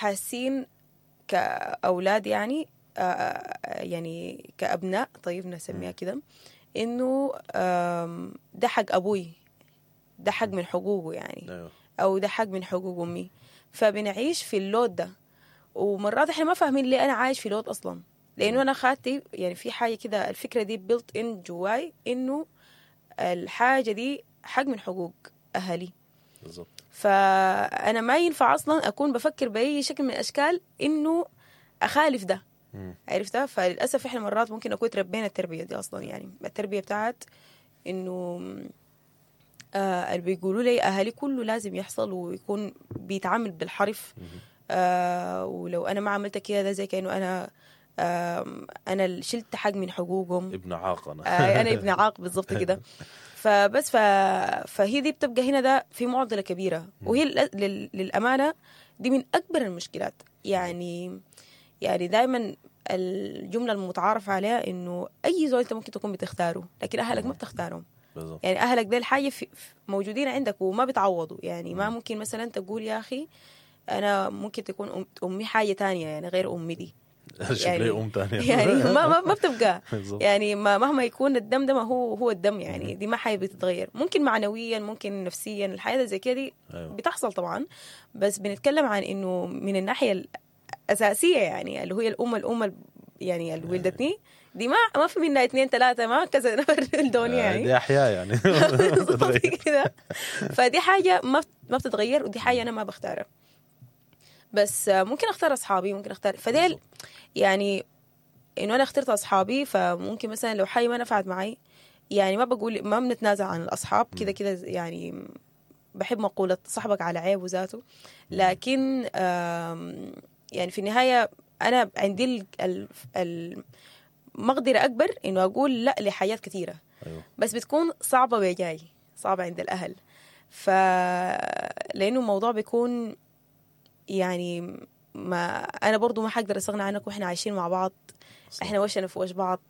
حاسين كأولاد يعني يعني كأبناء، طيب نسميها كده، إنه ده حق أبوي، ده حق من حقوقه يعني، أو ده حق من حقوق أمي. فبنعيش في ال load ده، ومرات احنا ما فاهمين ليه أنا عايش في load أصلا، لأنه أنا خاتي يعني في حاجة كده، الفكرة دي built in جواي إنه الحاجة دي حق من حقوق أهلي. فأنا ما ينفع أصلا أكون بفكر بأي شكل من الأشكال إنه أخالف ده. عرفتها؟ فللأسف إحنا مرات ممكن نكون تربينا التربية دي أصلا، يعني التربية بتاعت إنه اللي بيقولوا لي أهلي كله لازم يحصل ويكون بيتعامل بالحرف. ولو أنا ما عملت كده ده زي كأنه أنا اللي شلت حق من حقوقهم. ابن عاق أنا. أنا ابن عاق بالضبط كده. فبس فهي دي بتبقى هنا ده في معضلة كبيرة، وهي للأمانة دي من أكبر المشكلات. يعني دائما الجملة المتعارف عليها إنه أي زول أنت ممكن تكون بتختاره، لكن أهلك ما بتختارهم. بالضبط. يعني أهلك ده الحاجة موجودين عندك وما بتعوضوا. يعني ما ممكن مثلا تقول يا أخي أنا ممكن تكون أمي حاجة تانية يعني غير أمي دي. يعني أم تانية. يعني ما بتبقى. يعني ما مهما يكون الدم ده ما هو الدم، يعني دي ما حاجة بتتغير. ممكن معنويا، ممكن نفسيا، الحياة زي كده دي بتحصل طبعا، بس بنتكلم عن إنه من الناحية الأساسية يعني اللي هي الأم يعني اللي ولدتني دي ما في منها 2 3 ما كذا نفر الدنيا يعني دي أحياء يعني. كده. فدي حاجة ما بتتغير، ودي حاجة أنا ما بختارها، بس ممكن اختار اصحابي، ممكن اختار فديل. يعني انه انا اخترت اصحابي، فممكن مثلا لو حاجة ما نفعت معي يعني ما بقول ما بنتنازع عن الاصحاب كده كده، يعني بحب مقولة صاحبك على عيبه ذاته، لكن يعني في النهاية انا عندي المقدرة اكبر انه اقول لا لحاجات كثيرة. بس بتكون صعبة بجاي، صعبة عند الاهل، لانه الموضوع بيكون يعني ما أنا برضو ما حقدر أستغنى عنك، وإحنا عايشين مع بعض. إحنا وشنا في وش بعض،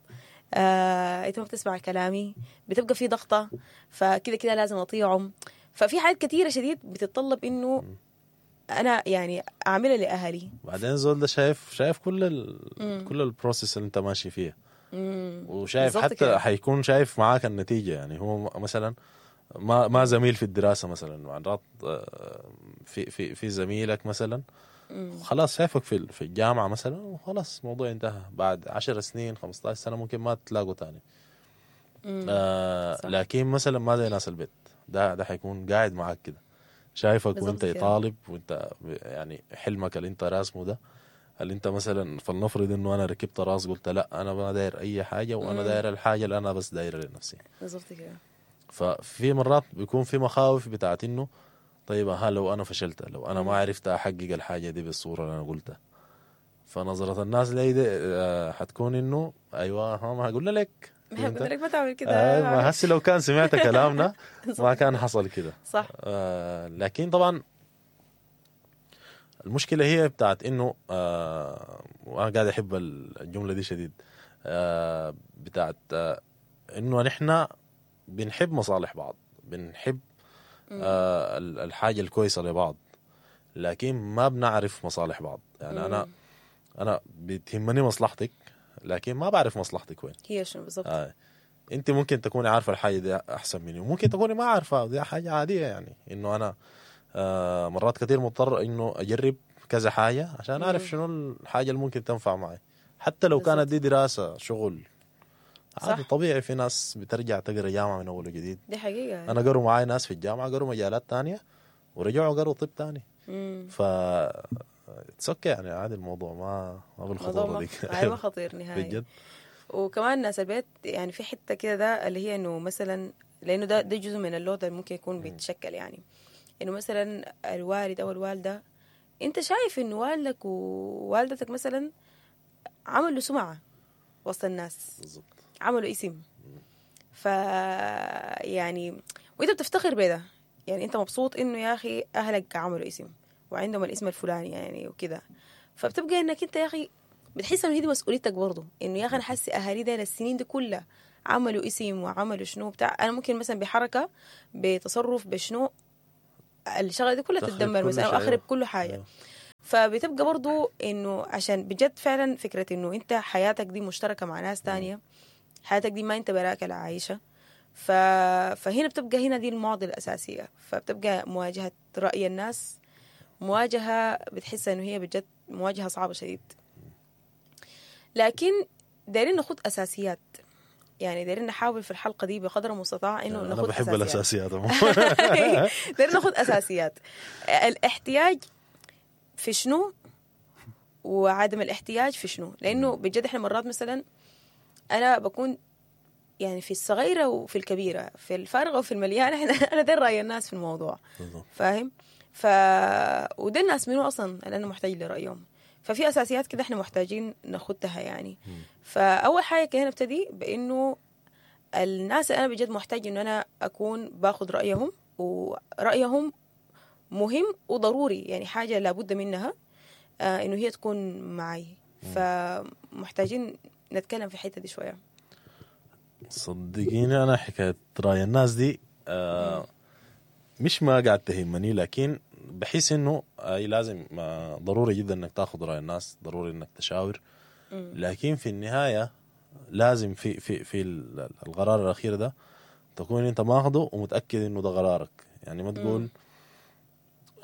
أنت ما بتسمع كلامي، بتبقى في ضغطة، فكده كده لازم أطيعهم. ففي حاجات كثيرة شديد بتتطلب إنه أنا يعني أعملها لأهلي. بعدين زول ده شايف كل كل ال process اللي أنت ماشي فيها، وشايف حتى حيكون شايف معاك النتيجة. يعني هو مثلا ما زميل في الدراسة مثلا، مرات في في في زميلك مثلا خلاص شايفك في الجامعة مثلا، وخلاص الموضوع انتهى. بعد 10 سنين 15 سنة ممكن ما تلاقوا تاني. لكن مثلا ما زي ناس البيت، ده حيكون قاعد معاك كده، شايفك وانت طالب، وانت يعني حلمك اللي انت راسمه ده، اللي انت مثلا فلنفرض انه انا ركبت راس قلت لا انا ما داير اي حاجة، وانا داير الحاجة اللي انا بس دايرها لنفسي. بالضبط كده. ففي مرات بيكون في مخاوف بتاعت انه طيب ها لو انا فشلت، لو انا ما عرفت احقق الحاجة دي بالصورة اللي انا قلتها، فنظره الناس لي دي حتكون انه ايوه ها ما قلنا لك، ما قلنا لك ما تعمل كده، ما هسي لو كان سمعت كلامنا ما كان حصل كده. صح. لكن طبعا المشكلة هي بتاعت انه وانا قاعد احب الجملة دي شديد، بتاعت انه نحن بنحب مصالح بعض، بنحب الحاجة الكويسة لبعض، لكن ما بنعرف مصالح بعض. يعني أنا بتهمني مصلحتك، لكن ما بعرف مصلحتك وين هي شنو بالضبط. أنت ممكن تكوني عارفة الحاجة دي أحسن مني، وممكن تكوني ما عارفة، دي حاجة عادية. يعني إنه أنا مرات كتير مضطر إنه أجرب كذا حاجة عشان أعرف شنو الحاجة اللي ممكن تنفع معي، حتى لو كانت دي دراسة شغل عادي طبيعي. في ناس بترجع تقرا جامعة من أول وجديد، دي حقيقة. أنا قروا معاي ناس في الجامعة قروا مجالات تانية ورجعوا قروا طب تاني. ف okay يعني عادي الموضوع، ما بالخطورة دي. ما خطير نهائي بجد. وكمان ناس البيت يعني في حتة كده ده اللي هي إنه مثلا، لأنه ده جزء من ال load اللي ممكن يكون بيتشكل، يعني إنه مثلا الوالد أو الوالدة، أنت شايف إنه والدك ووالدتك مثلا عملوا سمعة وسط الناس، بالضبط، عملوا اسم، ف يعني وانت بتفتخر بده، يعني انت مبسوط انه يا اخي اهلك عملوا اسم وعندهم الاسم الفلاني يعني وكده، فبتبقى انك انت يا اخي بتحس انه هي دي مسؤوليتك برضه، انه يا اخي انا حاسس اهالي ده السنين دي كلها عملوا اسم وعملوا شنو بتاع، انا ممكن مثلا بحركة بتصرف بشنو الشغلة دي كلها تتدمر مثلا او اخرب كل حاجة. فبتبقى برضو انه عشان بجد فعلا فكرة انه انت حياتك دي مشتركة مع ناس تانية، حياتك دي ما انت براك اللي عايشة. فهنا بتبقى هنا دي المعضلة الأساسية. فبتبقى مواجهة رأي الناس مواجهة بتحس انه هي بجد مواجهة صعبة شديد. لكن دايرين ناخد أساسيات، يعني دايرين نحاول في الحلقة دي بقدر المستطاع انه انا ناخد بحب أساسيات. الاساسيات. دايرين ناخد أساسيات. الاحتياج في شنو وعدم الاحتياج في شنو، لأنه بجد احنا مرات مثلا أنا بكون يعني في الصغيرة وفي الكبيرة، في الفارغة وفي المليانة، أنا داير رأي الناس في الموضوع. بالضبط. فاهم؟ وده الناس منو أصلا اللي أنا محتاج لرأيهم. ففي أساسيات كده احنا محتاجين ناخدها يعني. فأول حاجة كده نبتدي بإنه الناس اللي أنا بجد محتاج إنه أنا أكون باخد رأيهم، ورأيهم مهم وضروري، يعني حاجة لابد منها إنه هي تكون معي. فمحتاجين نتكلم في الحتة دي شوية. صدقيني انا حكاية راي الناس دي مش ما قاعد تهمني، لكن بحس انه اي لازم ضروري جدا انك تاخذ راي الناس، ضروري انك تشاور، لكن في النهاية لازم في في في القرار الاخير ده تكون انت ماخده ومتاكد انه ده قرارك. يعني ما تقول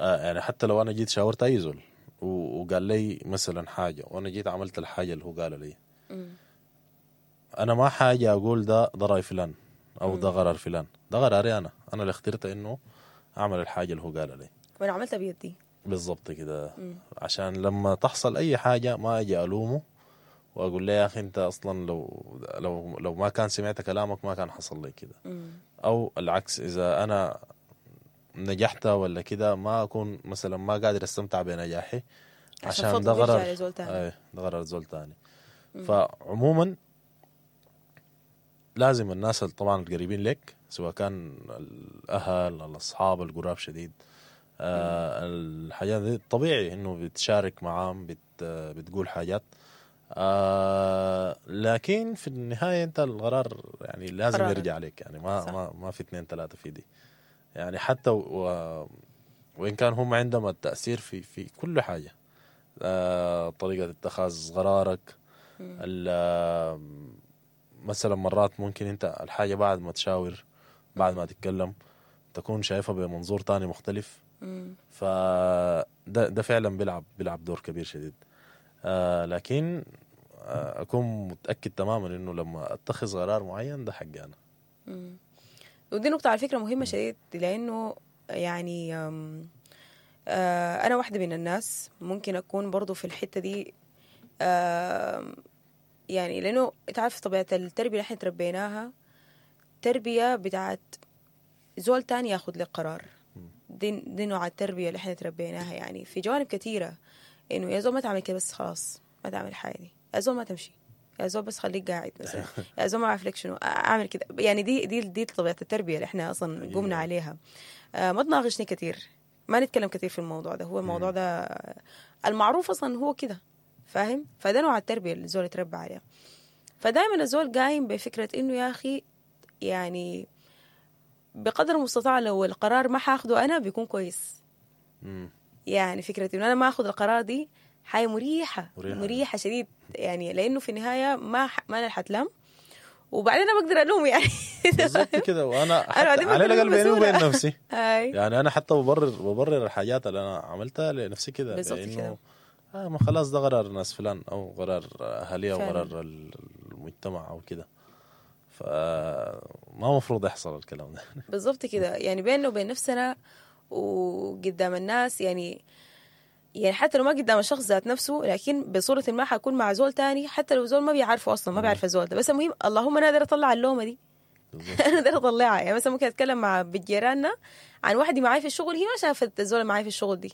يعني حتى لو انا جيت شاورت اي زول وقال لي مثلا حاجة وانا جيت عملت الحاجة اللي هو قالها لي، انا ما حاجة اقول ده راي فلان او ده قرار فلان، ده قراري انا اللي اخترت انه اعمل الحاجة اللي هو قالها لي وانا عملتها بيدي. بالضبط كده. عشان لما تحصل اي حاجة ما اجي الومه واقول له يا اخي انت اصلا لو لو لو ما كان سمعت كلامك ما كان حصل لي كده، او العكس اذا انا نجحت ولا كده ما اكون مثلا ما قادر استمتع بنجاحي عشان ده قرار زول تاني. ده قرار زول تاني. فعموما لازم الناس طبعا القريبين لك، سواء كان الاهل، الاصحاب القراب شديد، الحاجات دي طبيعي انه بتشارك معاهم، بتقول حاجات، لكن في النهاية انت القرار يعني لازم قرار يرجع عليك. يعني ما صح. ما في 2 3 في دي يعني، حتى وان كان هم عندهم التاثير في كل حاجة، طريقه اتخاذ قرارك، مثلا مرات ممكن انت الحاجة بعد ما تشاور، بعد ما تتكلم، تكون شايفها بمنظور تاني مختلف. فده ده فعلا بيلعب دور كبير شديد. لكن اكون متاكد تماما انه لما اتخذ قرار معين ده حقي انا. ودي نقطة على فكرة مهمة شديد، لانه يعني انا واحدة من الناس ممكن اكون برضو في الحتة دي، يعني لانه تعرف طبيعة التربية اللي احنا تربيناها، تربيه بتاعت زول تاني ياخذ لك قرار. دي نوع التربية اللي احنا تربيناها يعني في جوانب كثيرة، انه يا زول ما تعمل كده بس خلاص، ما تعمل حاجة دي، يا زول ما تمشي، يا زول بس خليك قاعد مثلا، يا زول ما اعرف لك شنو اعمل كده. يعني دي طبيعة التربية اللي احنا اصلا قمنا عليها. ما تناقشني كثير، ما نتكلم كثير في الموضوع ده، هو الموضوع ده المعروف اصلا هو كده، فاهم؟ فده نوع التربية اللي الزول يتربى عليها. فدائما الزول قايم بفكره انه يا اخي يعني بقدر المستطاع لو القرار ما حاخده انا بيكون كويس. يعني فكرة انه انا ما اخذ القرار دي حاجة مريحه مريحه شديد، يعني لانه في النهاية ما انا حتلام، وبعدين انا بقدر الوم يعني. بالضبط كده. وانا حتى على الاقل بيني وبين نفسي يعني انا حتى ببرر الحاجات اللي انا عملتها لنفسي كده، لانه ما خلاص ده قرار ناس فلان او قرار اهلي او قرار المجتمع او كده، فما مفروض يحصل الكلام ده. بالضبط كده، يعني بيننا وبين نفسنا وقدام الناس، يعني حتى لو ما قدام الشخص ذات نفسه، لكن بصورة ما حكون مع زول تاني، حتى لو زول ما بيعرفه أصلا، ما بيعرف الزول ده، بس المهم اللهم أنا أقدر أطلع اللومة دي. أنا أقدر أطلعها. يعني مثلا ممكن أتكلم مع بجيراننا عن واحدة معاي في الشغل، هي ما شافت الزول معاي في الشغل دي،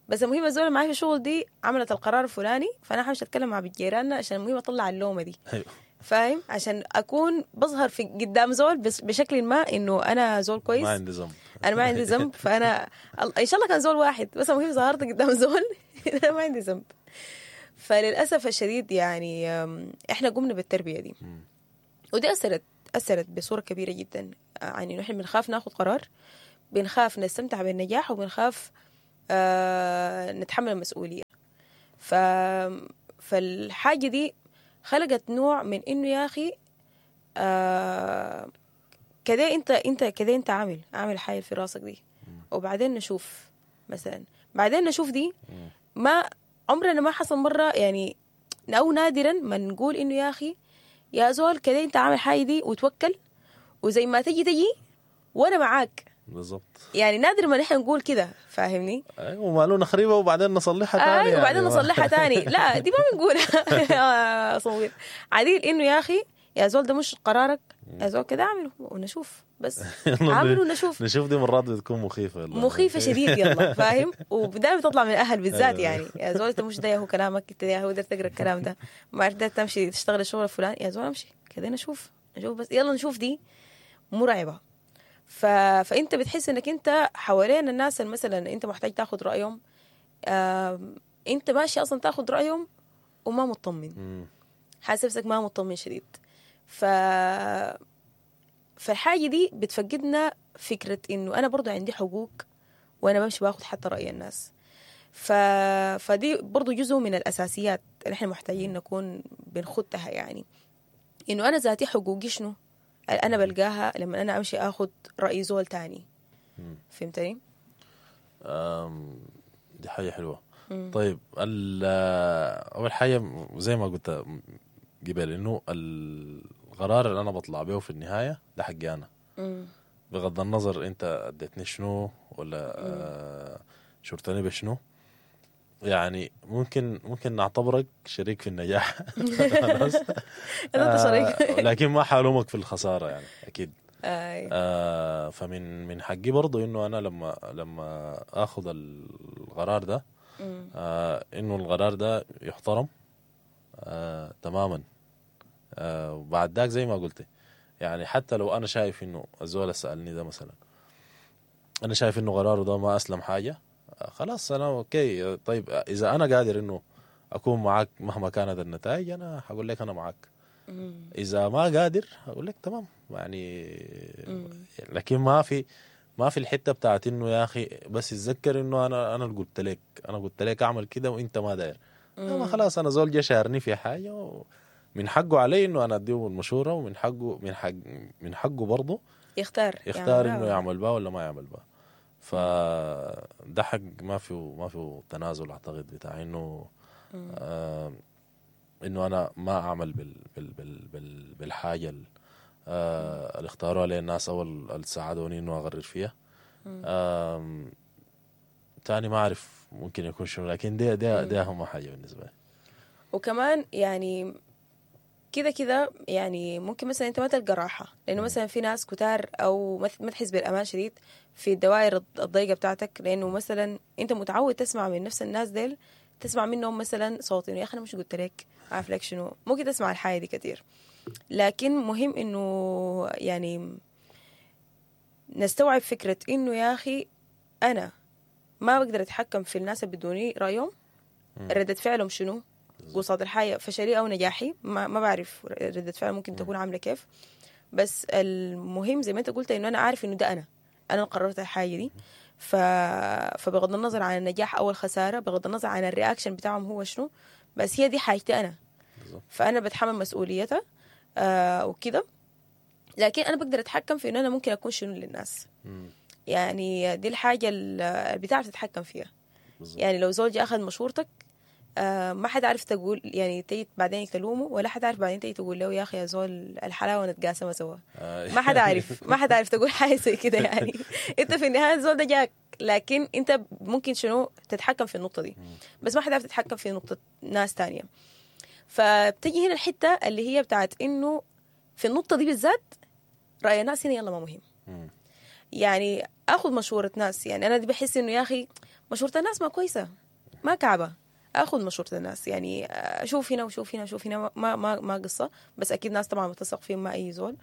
بس المهم الزول معاي في الشغل دي عملت القرار الفلاني، فأنا حمشي أتكلم مع بجيراننا عشان المهم أطلع اللومة دي. فاهم؟ عشان أكون بظهر في قدام زول بشكل ما إنه أنا زول كويس، ما عندي ذنب، أنا ما عندي ذنب. فأنا إن شاء الله كان زول واحد بس، المهم ظهرت قدام زول أنا ما عندي ذنب. فللأسف الشديد يعني إحنا قمنا بالتربية دي، ودي أثرت بصورة كبيرة جدا. يعني إنه إحنا بنخاف ناخد قرار، بنخاف نستمتع بالنجاح، وبنخاف نتحمل المسؤولية. فالحاجة دي خلقت نوع من إنه يا أخي كده انت كده انت عامل حاجة في راسك دي، وبعدين نشوف مثلا، بعدين نشوف دي ما عمرنا ما حصل مرة يعني، أو نادرا ما نقول إنه يا أخي يا زول كده انت عامل حاجة دي وتوكل وزي ما تجي وانا معاك. بالضبط. يعني نادر ما نحن نقول كده، فاهمني؟ ايوه، ومالو نخربها وبعدين نصلحها تاني. ايوه وبعدين نصلحها تاني. لا دي ما بنقولها يا صغير عديل، انه يا اخي يا زول ده مش قرارك، يا زول كده اعمله ونشوف، بس اعمله ونشوف. نشوف دي مرات بتكون مخيفة والله. مخيفة شديد يلا، فاهم؟ ودائما تطلع من الاهل بالذات، يعني يا زول انت مش ده هو كلامك، انت يا هو قدرت تقرا الكلام ده، ما عرفت تمشي تشتغل الشغل الفلاني، يا زول امشي كده نشوف بس يلا نشوف. دي مرعبة. فانت بتحس انك انت حوالين الناس اللي مثلا انت محتاج تاخذ رايهم، انت ماشي اصلا تاخذ رايهم وما مطمن، حاسس نفسك ما مطمن شديد. فالحاجه دي بتفقدنا فكرة انه انا برضو عندي حقوق وانا بمشي باخذ حتى راي الناس. فدي برضو جزء من الاساسيات اللي احنا محتاجين نكون بنخدها، يعني انه انا ذاتي حقوقي شنو انا بلقاها لما انا امشي اخذ راي زول تاني. فهمتني؟ دي حاجة حلوة. طيب اول حاجة زي ما قلت قبل، انه القرار اللي انا بطلع به في النهاية ده حقي انا، بغض النظر انت اديتني شنو ولا شرتني بشنو. يعني ممكن نعتبرك شريك في النجاح خلاص، انت شريك لكن ما حالومك في الخسارة يعني اكيد. فمن من حقي برضو انه انا لما اخذ القرار ده، انه القرار ده يحترم تماما. وبعد ذاك زي ما قلت، يعني حتى لو انا شايف انه الزول سالني ده مثلا، انا شايف انه قراره ده ما اسلم حاجة، خلاص انا okay. طيب اذا انا قادر انه اكون معاك مهما كانت النتائج، انا هقول لك انا معاك. اذا ما قادر هقول لك تمام يعني. لكن ما في الحتة بتاعت انه يا اخي بس اتذكر انه انا اللي قلت لك، انا قلت لك اعمل كده وانت ما داير. ما خلاص انا زول جا شارني في حاجة، ومن حقه علي انه انا اديه المشورة، ومن حقه من حقه برضه يختار انه يعمل بها ولا ما يعمل بها. فده حق ما فيه تنازل اعتقد، بتاع انه انه انا ما اعمل بال بال بال بال بالحاجة اللي اختاروها لي الناس او اللي ساعدوني انه اغرر فيها. تاني ما اعرف ممكن يكون شنو، لكن دي اهم حاجة بالنسبة لي. وكمان يعني كده كده يعني ممكن مثلا انت ما تلقى راحة، لانه مثلا في ناس كتار او ما تحس بالامان شديد في الدوائر الضيقه بتاعتك، لانه مثلا انت متعود تسمع من نفس الناس ديل، تسمع منهم مثلا صوت انه يا اخي انا مش قلت لك، عارف لك شنو، ممكن تسمع الحاجة دي كتير. لكن مهم انه يعني نستوعب فكرة انه يا اخي انا ما بقدر اتحكم في الناس اللي بدوني رايهم، ردة فعلهم شنو قصاد الحياة، فشلي أو نجاحي ما بعرف ردة فعل ممكن تكون عاملة كيف. بس المهم زي ما أنت قلت إنه أنا عارف إنه ده أنا قررت الحاجة دي، فبغض النظر عن النجاح أو الخسارة، بغض النظر عن ال reaction بتاعهم هو شنو، بس هي دي حاجتي أنا، فأنا بتحمل مسؤوليتها وكده. لكن أنا بقدر أتحكم في إنه أنا ممكن أكون شنو للناس. يعني دي الحاجة اللي بتعرف تتحكم فيها. يعني لو زوجي أخذ مشورتك، ما حد عارف تقول يعني تيجي بعدين تلومه، ولا حد عارف بعدين تيجي تقول له يا اخي يا زول الحلاوة نتقاسمها سوا. ما حد عارف، ما حد عارف تقول حاجة زي كده يعني. انت في النهاية الزول ده جاك، لكن انت ممكن شنو تتحكم في النقطة دي، بس ما حد عارف تتحكم في نقطة ناس تانية. فبتجي هنا الحتة اللي هي بتاعت انه في النقطة دي بالذات راي الناس هنا يلا ما مهم. يعني اخذ مشورة ناس، يعني انا دي بحس انه يا اخي مشورة الناس ما كويسة، ما كعبه، اخذ مشورة الناس، يعني اشوف هنا وشوف هنا وشوف هنا، ما ما ما قصة، بس اكيد ناس طبعا بتثق فيهم، ما اي زول.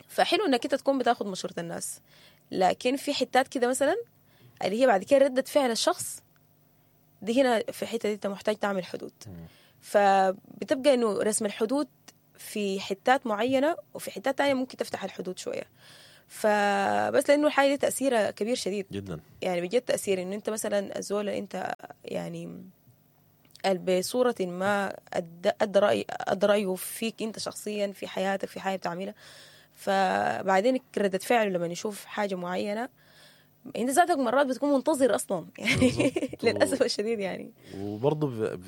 فحلو انك انت تكون بتاخذ مشورة الناس، لكن في حتات كده مثلا اللي هي بعد كده ردة فعل الشخص دي، هنا في الحتة دي انت محتاج تعمل حدود. فبتبقى انه رسم الحدود في حتات معينة، وفي حتات تانية ممكن تفتح الحدود شوية. فبس لانه الحاجة دي تاثيرها كبير شديد جدا. يعني بجد تاثير انه انت مثلا الزول اللي انت يعني بصورة ما ادى رايه فيك انت شخصيا في حياتك في حاجة بتعملها، فبعدين ردة فعله لما يشوف حاجة معينة انت ذاتك مرات بتكون منتظر اصلا يعني للاسف الشديد يعني. وبرضه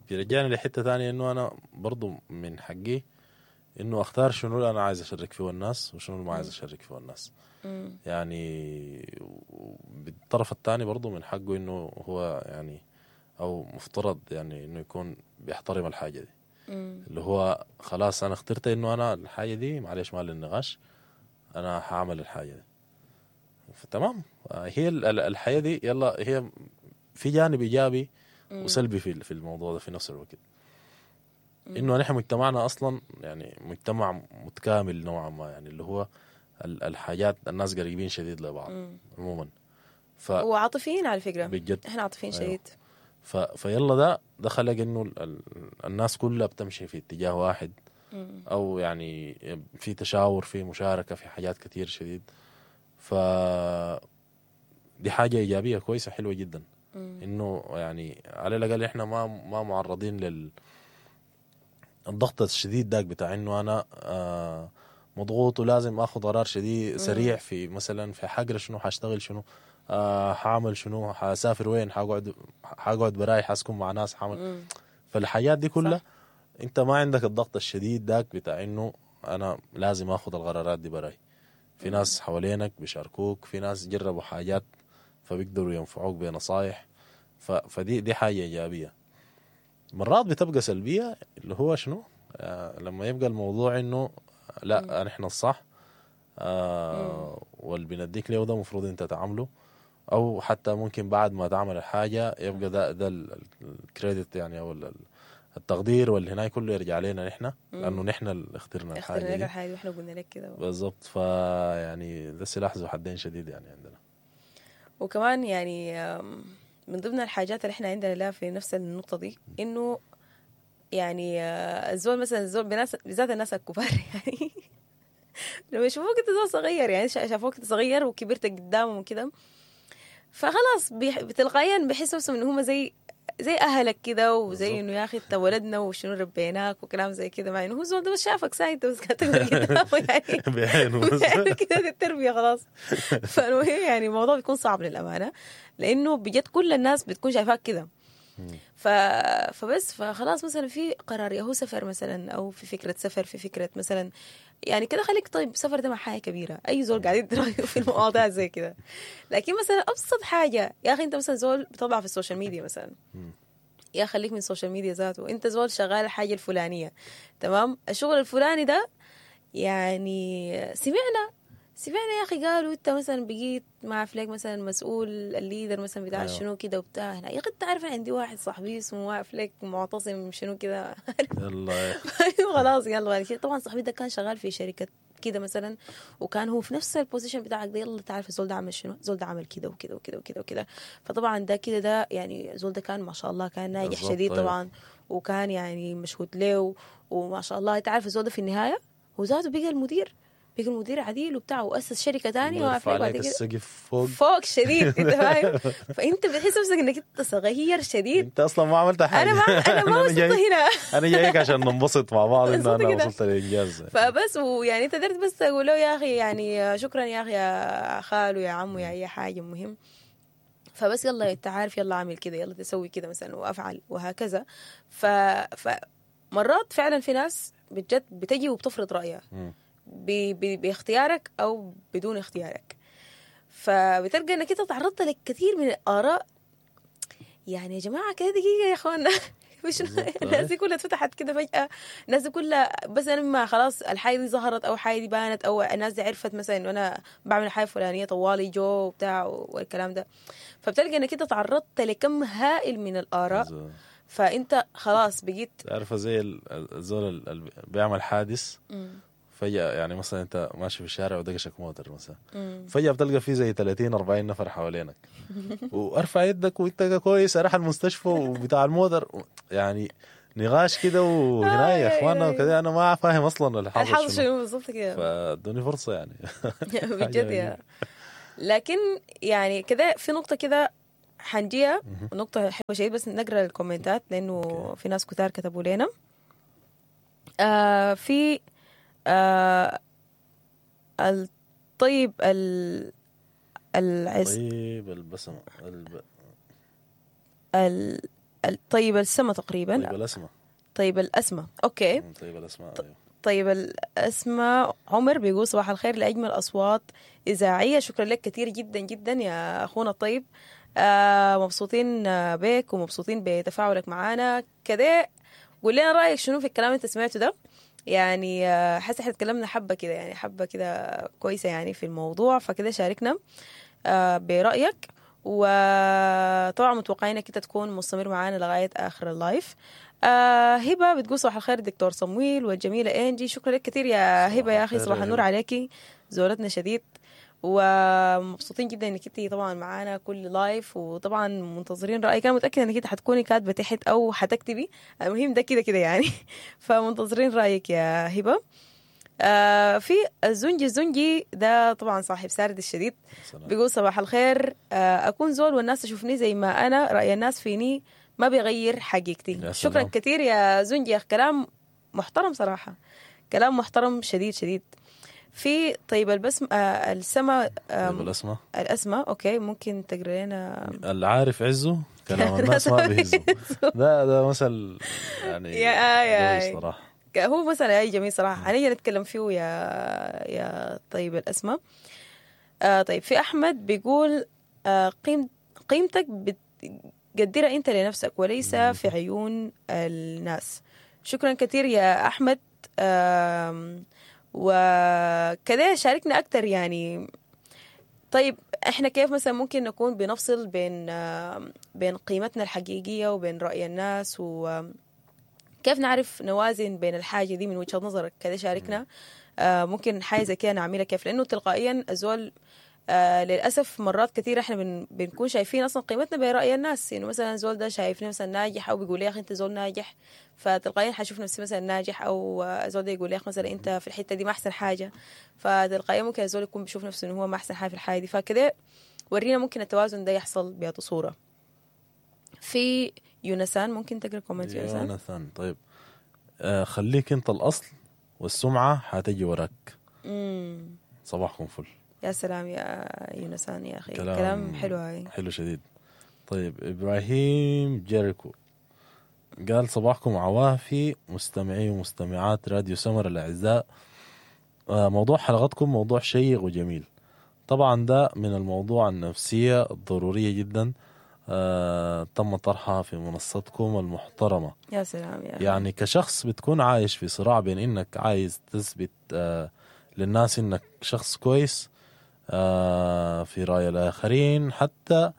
بيرجعني لحته ثانية، انه انا برضه من حقي انه اختار شنو اللي انا عايز اشارك فيه الناس وشنو اللي ما عايز اشارك فيه الناس. يعني بالطرف الثاني برضه من حقه انه هو يعني او مفترض يعني انه يكون بيحترم الحاجة دي. اللي هو خلاص انا اخترت انه انا الحاجة دي معلش ما للنقاش، انا هعمل الحاجة دي، فتمام. هي الحياة دي يلا هي في جانب ايجابي وسلبي في الموضوع ده في نفس الوقت. انه نحن مجتمعنا اصلا يعني مجتمع متكامل نوعا ما، يعني اللي هو الحاجات الناس قريبين شديد لبعض عموما، وعاطفيين على فكرة بجد احنا عاطفيين شديد. فيلا ده خلق انه الناس كلها بتمشي في اتجاه واحد، او يعني في تشاور، في مشاركة، في حاجات كتير شديد. ف دي حاجة ايجابية كويسة حلوة جدا، انه يعني على الاقل احنا ما معرضين لل الضغط الشديد داك بتاع انه انا مضغوط ولازم اخذ قرار شديد سريع في مثلا في حقرا شنو، حاشتغل شنو، حاعمل شنو، حاسافر وين، حقعد براي، حاسكن مع ناس، حاعمل. فالحاجات دي كلها انت ما عندك الضغط الشديد داك بتاع انه انا لازم اخذ القرارات دي براي. في ناس حوالينك بيشاركوك، في ناس جربوا حاجات فبيقدروا ينفعوك بنصايح. فدي حاجة ايجابية. مرات بتبقى سلبية اللي هو شنو لما يبقى الموضوع انه لا نحن الصح، واللي بنديك له ده المفروض انت تعمله، او حتى ممكن بعد ما تعمل الحاجة يبقى ده الكريدت يعني، او التقدير واللي هناك كله يرجع لنا نحن، لانه نحن اللي اخترنا الحاجة دي، الحاجة واحنا قلنا لك كده بالضبط. فيعني ده سلاح ذو حدين شديد يعني عندنا. وكمان يعني من ضمن الحاجات اللي احنا عندنا لها في نفس النقطة دي، انه يعني الزول مثلا الزول بالذات الناس الكبار يعني لما يشوفوك انت زول صغير، يعني شافوك انت صغير وكبرت قدامهم وكده، فخلاص تلقائيا بيحسوا نفسهم انه هم زي اهلك كده، وزي انه يا اخي انت ولدنا وشنو ربيناك وكلام زي كده، مع انه هو زول ده بس شافك ساي انت بس كنت قدامه يعني بعينه كده التربية خلاص. فالمهم يعني الموضوع بيكون صعب للامانة، لانه بجد كل الناس بتكون شايفاك كده. فبس فخلاص مثلا في قرار يا هو سفر مثلا، او في فكرة سفر، في فكرة مثلا يعني كده خليك طيب سفر ده مع حاجة كبيرة، اي زول قاعد يدي رايه في المواضيع زي كده. لكن مثلا ابسط حاجة يا اخي انت مثلا زول بتطلع في ال social media مثلا، يا خليك من ال social media ذاته، انت زول شغال الحاجة الفلانية، تمام، الشغل الفلاني ده يعني سمعنا يا اخي قالوا انت مثلا بقيت مع فليك مثلا مسؤول ال leader مثلا بتاع شنو كده وبتاع هنا. يا اخي انت عارف عندي واحد صاحبي اسمه فليك معتصم شنو كده يلا خلاص يلا. طبعا صاحبي ده كان شغال في شركة كده مثلا، وكان هو في نفس ال position بتاعك ده، يلا تعرف الزول ده عمل شنو، الزول ده عمل كده وكده وكده وكده وكده. فطبعا ده كده ده يعني الزول ده كان ما شاء الله كان ناجح شديد طبعا، وكان يعني مشهود له وما شاء الله. انت عارف الزول ده في النهاية هو ذاته بقى المدير، بيجي المدير عديل وبتاع، واسس شركة ثانية وقف عليك السقف فوق فوق شديد انت فاهم. فانت بتحس نفسك انك انت صغير شديد، انت اصلا ما عملت حاجة. انا ما وصلت هنا، انا جايك عشان ننبسط مع بعض انه انا وصلت للانجاز. فبس ويعني انت قدرت بس تقول له يا اخي يعني شكرا يا اخي يا خالو يا عمو يا اي حاجة المهم. فبس يلا انت عارف، يلا اعمل كده، يلا تسوي كده مثلا وافعل وهكذا. فمرات فعلا في ناس بجد بتجي وبتفرض رايها باختيارك او بدون اختيارك، فبتلقى انك انت تعرضت لكثير من الاراء. يعني يا جماعة كده دقيقة يا اخوانا مش الناس دي كلها اتفتحت كده فجاة، الناس دي كلها بس انا ما خلاص الحاجة دي ظهرت او حاجة دي بانت او الناس دي عرفت مثلا انه انا بعمل حاجة فلانيه طوالي جو وبتاع والكلام ده. فبتلقى انك انت تعرضت لكم هائل من الاراء، فانت خلاص بقيت عارفه زي الزول اللي بيعمل حادث فجأة. يعني مثلا انت ماشي في الشارع ودقشك موتر مثلا، فجأة بتلقى فيه زي 30 40 نفر حوالينك وارفع يدك وانت كويس اروح المستشفى وبتاع الموتر. يعني نقاش كده وهنا يا آه، اخوانا يا وكده، انا ما فاهم اصلا الحاصل الحاصل شنو، شنو بالضبط كده. فادوني فرصة يعني. بجد يا، لكن يعني كده في نقطة كده حنجيها، نقطة حلوة شديد، بس نقرا الكومنتات لأنه okay. في ناس كتار كتبوا لنا. في الطيب العز طيب البسمة الطيب السما تقريبا. طيب الاسماء. طيب الأسمى، okay. طيب الاسماء، أيوه. طيب الأسمى عمر بيقول صباح الخير لأجمل أصوات إذاعية. شكرا لك كثير جدا جدا يا أخونا الطيب، مبسوطين بك ومبسوطين بتفاعلك معانا كده. قول لنا رأيك شنو في الكلام اللي انت سمعته ده، يعني حاسة احنا اتكلمنا حبة كده، يعني حبة كده كويسة يعني في الموضوع، فكده شاركنا برأيك، وطبعا متوقعين انك انت تكون مستمر معانا لغاية آخر ال live. هبة بتقول صباح الخير دكتور صمويل والجميلة إنجي. شكرا لك كثير يا صباح هبة يا أخي، الخير صباح يا النور هبة. عليكي، زورتنا شديد ومبسوطين جدا انك انت طبعا معانا كل live، وطبعا منتظرين رايك. انا متاكدة انك انت حتكوني كاتبه تحت او حتكتبي، المهم ده كده كده يعني. فمنتظرين رايك يا هبه. في الزنجي، الزنجي ده طبعا صاحب سارد الشديد، سلام. بيقول صباح الخير، اكون زول والناس تشوفني زي ما انا، راي الناس فيني ما بيغير حقيقتي. يا شكرا سلام. كثير يا زنجي يا أخي، كلام محترم صراحة، كلام محترم شديد شديد. في طيب البسم السما طيب الاسماء الأسمى، okay ممكن تقرا لنا. العارف عزه كلام الناس ما بيهزه. ده مثل يعني يا قوي صراحة. هو مثلا اي جميل صراحة، هنيجي نتكلم فيه يا طيب الأسمى. طيب في أحمد بيقول قيمتك بتقدرها أنت لنفسك وليس في عيون الناس. شكرا كثير يا أحمد. وكذا شاركنا أكثر يعني. طيب احنا كيف مثلا ممكن نكون بنفصل بين قيمتنا الحقيقية وبين رأي الناس، وكيف نعرف نوازن بين الحاجة دي من وجهة نظرك؟ كذا شاركنا. ممكن حاجة زي كده نعملها كيف، لأنه تلقائيا الزول للأسف مرات كثيرة احنا بنكون شايفين أصلا قيمتنا برأي الناس. إنه مثلا زول ده شايفني مثلا ناجح، أو بيقول لي يا أخي أنت زول ناجح، فتلقائيا حشوف نفسي مثلا ناجح، أو زول ده يقول لي يا أخي مثلا أنت في الحتة دي ما أحسن حاجة، فتلقائيا ممكن الزول يكون بيشوف نفسه إنه هو ما أحسن حاجة في الحاجة دي. فكده ورينا ممكن التوازن ده يحصل بأي صورة. في يونسان، ممكن تقرأ comment يونسان؟ يوناثان، طيب خليك أنت الأصل والسمعة حتجي وراك. صباحكم فل. يا سلام يا يونسان يا أخي، كلام حلو هاي، حلو شديد. طيب إبراهيم جيريكو قال صباحكم عوافي مستمعي ومستمعات راديو سمر الأعزاء. موضوع حلقتكم موضوع شيق وجميل. طبعا ده من الموضوع النفسية الضرورية جدا، تم طرحها في منصتكم المحترمة. يا سلام يا أخي. يعني كشخص بتكون عايش في صراع بين إنك عايز تثبت للناس إنك شخص كويس في رأي الآخرين، حتى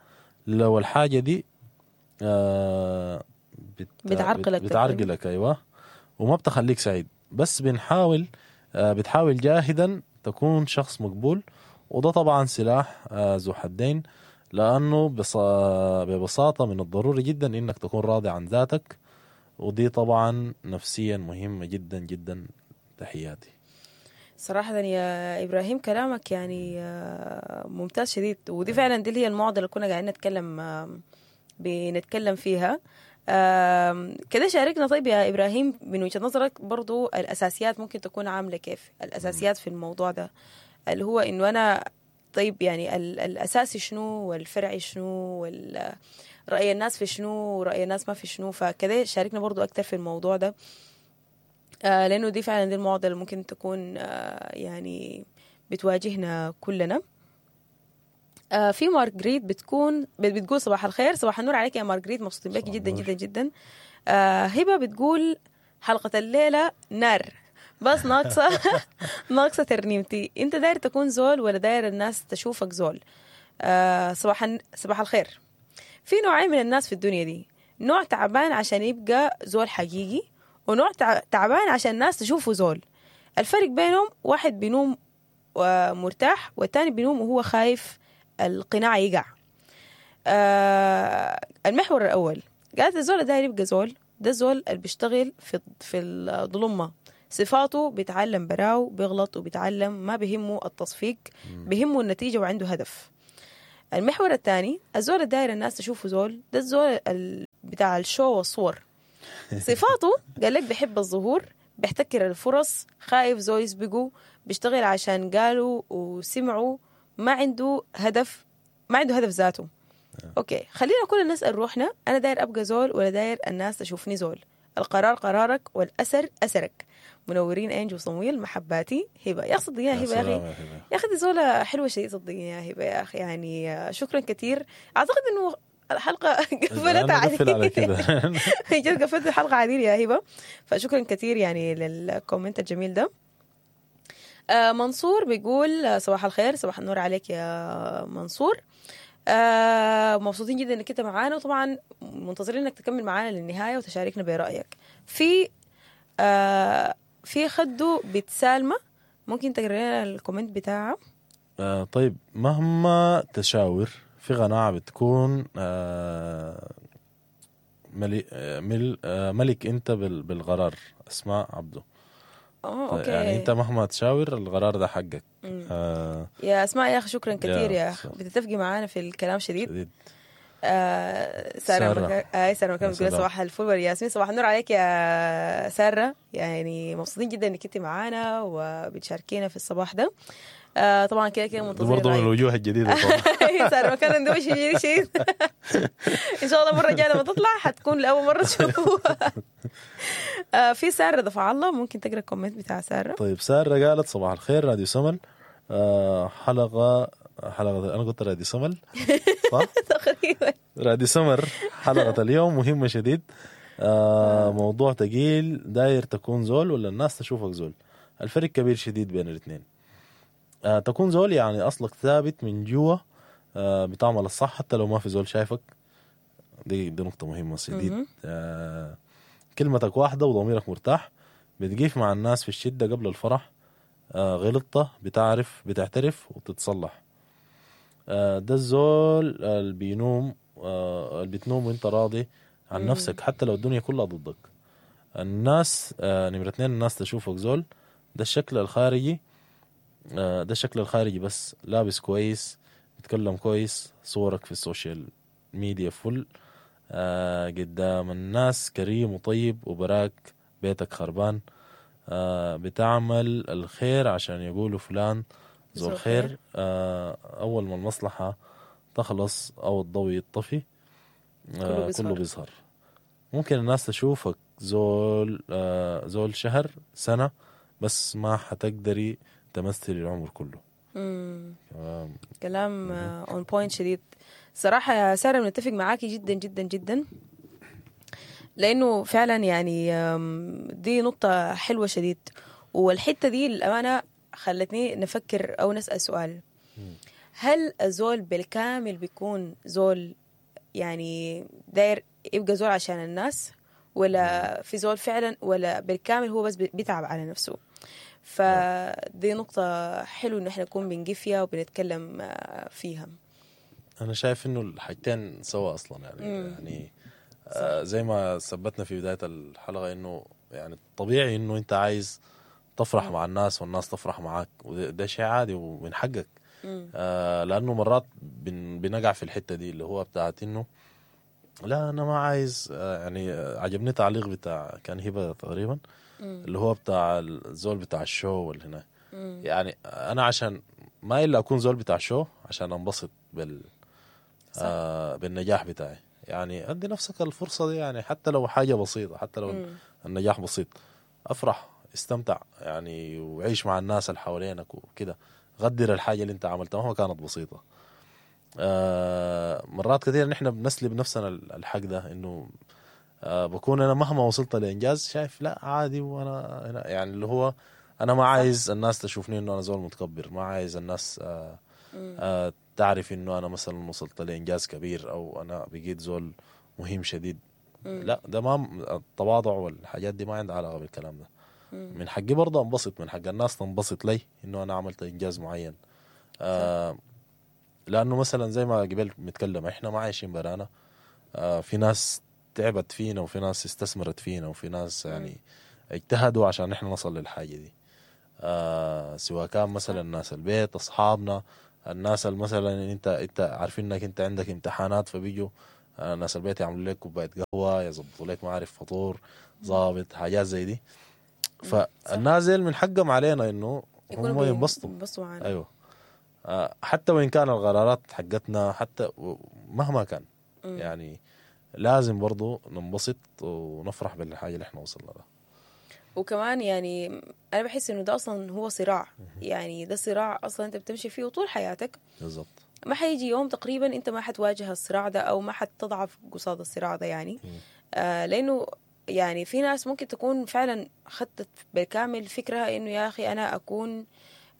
لو الحاجة دي بتعرقلك، أيوة، وما بتخليك سعيد، بس بنحاول بتحاول جاهدا تكون شخص مقبول. وده طبعا سلاح ذو حدين، لأنه ببساطة من الضروري جدا إنك تكون راضي عن ذاتك، ودي طبعا نفسيا مهمة جدا جدا. تحياتي. صراحة يا إبراهيم كلامك يعني ممتاز شديد، ودي فعلا دي هي المعضلة اللي كنا قاعدين بنتكلم فيها. كده شاركنا. طيب يا إبراهيم من وجهة نظرك برضو الأساسيات ممكن تكون عاملة كيف؟ الأساسيات في الموضوع ده اللي هو إنه أنا طيب يعني الأساسي شنو والفرعي شنو ورأي الناس في شنو ورأي الناس ما في شنو، فكده شاركنا برضو أكتر في الموضوع ده، لأنه دي فعلا دي المعضلة اللي ممكن تكون يعني بتواجهنا كلنا. في مارغريت بتقول صباح الخير. صباح النور عليك يا مارغريت، مبسوطين بك جدا جدا جدا. هبة بتقول حلقة الليلة نار، بس ناقصة ناقصة ترنيمتي. انت داير تكون زول ولا داير الناس تشوفك زول؟ صباح الخير. في نوعين من الناس في الدنيا دي، نوع تعبان عشان يبقى زول حقيقي، ونوع تعبان عشان الناس تشوفه زول. الفرق بينهم واحد بينوم مرتاح والتاني بينوم وهو خايف القناع يقع. المحور الأول قالت الزول داير يبقى زول ده زول اللي بيشتغل في الظلمة، صفاته بيتعلم براو، بيغلط وبيتعلم، ما بيهمه التصفيق، بيهمه النتيجة وعنده هدف. المحور الثاني الزول الداير الناس تشوفه زول، ده الزول بتاع ال show والصور. صفاته قال لك بيحب الظهور، بيحتكر الفرص، خايف زول يسبقه، بيشتغل عشان قالوا وسمعوا، ما عنده هدف، ما عنده هدف ذاته. okay، خلينا كلنا نسال روحنا، انا داير ابقى زول ولا داير الناس تشوفني زول؟ القرار قرارك والاثر اثرك. منورين انج وصمويل، محباتي هبه. يا اخي صدقيني يا هبه، يا اخي يا اخي دي زوله حلوة شديد، صدقيني يا هبه يا اخي، يعني شكرا كثير. اعتقد انه الحلقة قفلت على كده، جد قفلت الحلقة عديل يا هبه، فشكرا كثير يعني لل comment الجميل ده. منصور بيقول صباح الخير، صباح النور عليك يا منصور. مبسوطين جدا انك انت معانا، وطبعا منتظرين انك تكمل معانا للنهاية وتشاركنا برايك. في خدو بيت سالمه، ممكن تقرا لنا ال comment بتاعه؟ طيب، مهما تشاور في قناعة بتكون ملك انت بالقرار. اسماء عبده. Okay. يعني انت مهما تشاور القرار ده حقك. يا اسماء يا اخي شكرا كثير يا اخي، بتتفقي معانا في الكلام شديد. ساره ساره مكان بتقول صباح الفل والياسمين، صباح النور عليك يا ساره، يعني مبسوطين جدا انك انت معانا وبتشاركينا في الصباح ده. طبعا كده كده منتظرين برضه من الوجوه الجديدة طبعا. ساره مكان ده وش جديد شديد. ان شاء الله المرة الجاية لما تطلع حتكون لاول مرة تشوفوها. في ساره دفع الله، ممكن تقرا ال comment بتاع ساره؟ طيب، ساره قالت صباح الخير راديو سمل، حلقة انا قلت راديو سمل صح؟ تقريبا راديو سمر. حلقة اليوم مهمة شديد، موضوع تقيل، داير تكون زول ولا الناس تشوفك زول؟ الفرق كبير شديد بين الاثنين. تكون زول يعني اصلك ثابت من جوا، بتعمل الصح حتى لو ما في زول شايفك، دي نقطة مهمة شديد. كلمتك واحدة وضميرك مرتاح، بتقيف مع الناس في الشدة قبل الفرح، غلطة بتعرف بتعترف وتتصلح. ده الزول اللي بينوم، اللي بتنوم وانت راضي عن نفسك حتى لو الدنيا كلها ضدك. الناس نمرة 2، الناس تشوفك زول، ده الشكل الخارجي، ده الشكل الخارجي بس، لابس كويس، بتكلم كويس، صورك في ال social media فل، قدام الناس كريم وطيب، وبراك بيتك خربان، بتعمل الخير عشان يقولوا فلان ذو الخير. أول ما المصلحة تخلص أو الضوء يطفي كله بيظهر. ممكن الناس تشوفك زول زول شهر سنة، بس ما حتقدري تمثلي العمر كله. كلام on point شديد صراحة يا سارة، بنتفق معاكي جدا جدا جدا، لأنه فعلا يعني دي نقطة حلوة شديد. والحتة دي للأمانة خلتني نفكر أو نسأل سؤال، هل الزول بالكامل بيكون زول يعني داير يبقى زول عشان الناس، ولا في زول فعلا ولا بالكامل هو بس بيتعب على نفسه؟ فدي نقطة حلوة إنه إحنا نكون بنجي فيها وبنتكلم فيها. أنا شايف إنه الحاجتين سوا أصلا يعني. يعني زي ما ثبتنا في بداية الحلقة إنه يعني طبيعي إنه أنت عايز تفرح مع الناس والناس تفرح معاك، وده شيء عادي ومن حقك. لأنه مرات بنقع في الحتة دي اللي هو بتاعت إنه لا أنا ما عايز، يعني عجبني تعليق بتاع كان هبة تقريبا اللي هو بتاع الزول بتاع ال show واللي هنا. يعني أنا عشان ما إلا أكون زول بتاع show عشان أنبسط بالنجاح بتاعي. يعني أدي نفسك الفرصة دي، يعني حتى لو حاجة بسيطة، حتى لو النجاح بسيط، أفرح، استمتع يعني، وعيش مع الناس اللي حوالينك وكده، غدر الحاجة اللي انت عملتها مهما كانت بسيطة. مرات كثير نحن بنسلب نفسنا الحق ده، انه بكون انا مهما وصلت لإنجاز شايف لا عادي، وانا يعني اللي هو انا ما عايز الناس تشوفني انه انا زول متكبر، ما عايز الناس تعرف انه انا مثلا وصلت لإنجاز كبير او انا بقيت زول مهم شديد. لا، ده ما التواضع والحاجات دي ما عندها علاقة بالكلام ده. من حقي برضه انبسط، من حق الناس تنبسط لي انه انا عملت انجاز معين. لانه مثلا زي ما قبل بنتكلم احنا ما عايشين برانا، في ناس تعبت فينا، وفي ناس استثمرت فينا، وفي ناس يعني اجتهدوا عشان نحن نصل للحاجة دي. سواء كان مثلا ناس البيت، اصحابنا، الناس اللي مثلا انت عارفين انك انت عندك امتحانات، فبيجوا ناس البيت يعملوا لك كوباية قهوة، يظبطوا لك ما عارف فطور ظابط، حاجات زي دي. فالناس ديل من حقهم علينا انه هم ينبسطوا معنا. ايوه، حتى وان كان القرارات حقتنا، حتى مهما كان يعني لازم برضو ننبسط ونفرح بالحاجة اللي احنا وصلنا لها. وكمان يعني انا بحس انه ده اصلا هو صراع، يعني ده صراع اصلا انت بتمشي فيه طول حياتك. بالضبط. ما حيجي يوم تقريبا انت ما حتواجه الصراع ده او ما حتضعف قصاد الصراع ده يعني. لانه يعني في ناس ممكن تكون فعلا خدت بالكامل فكرة انه يا اخي انا اكون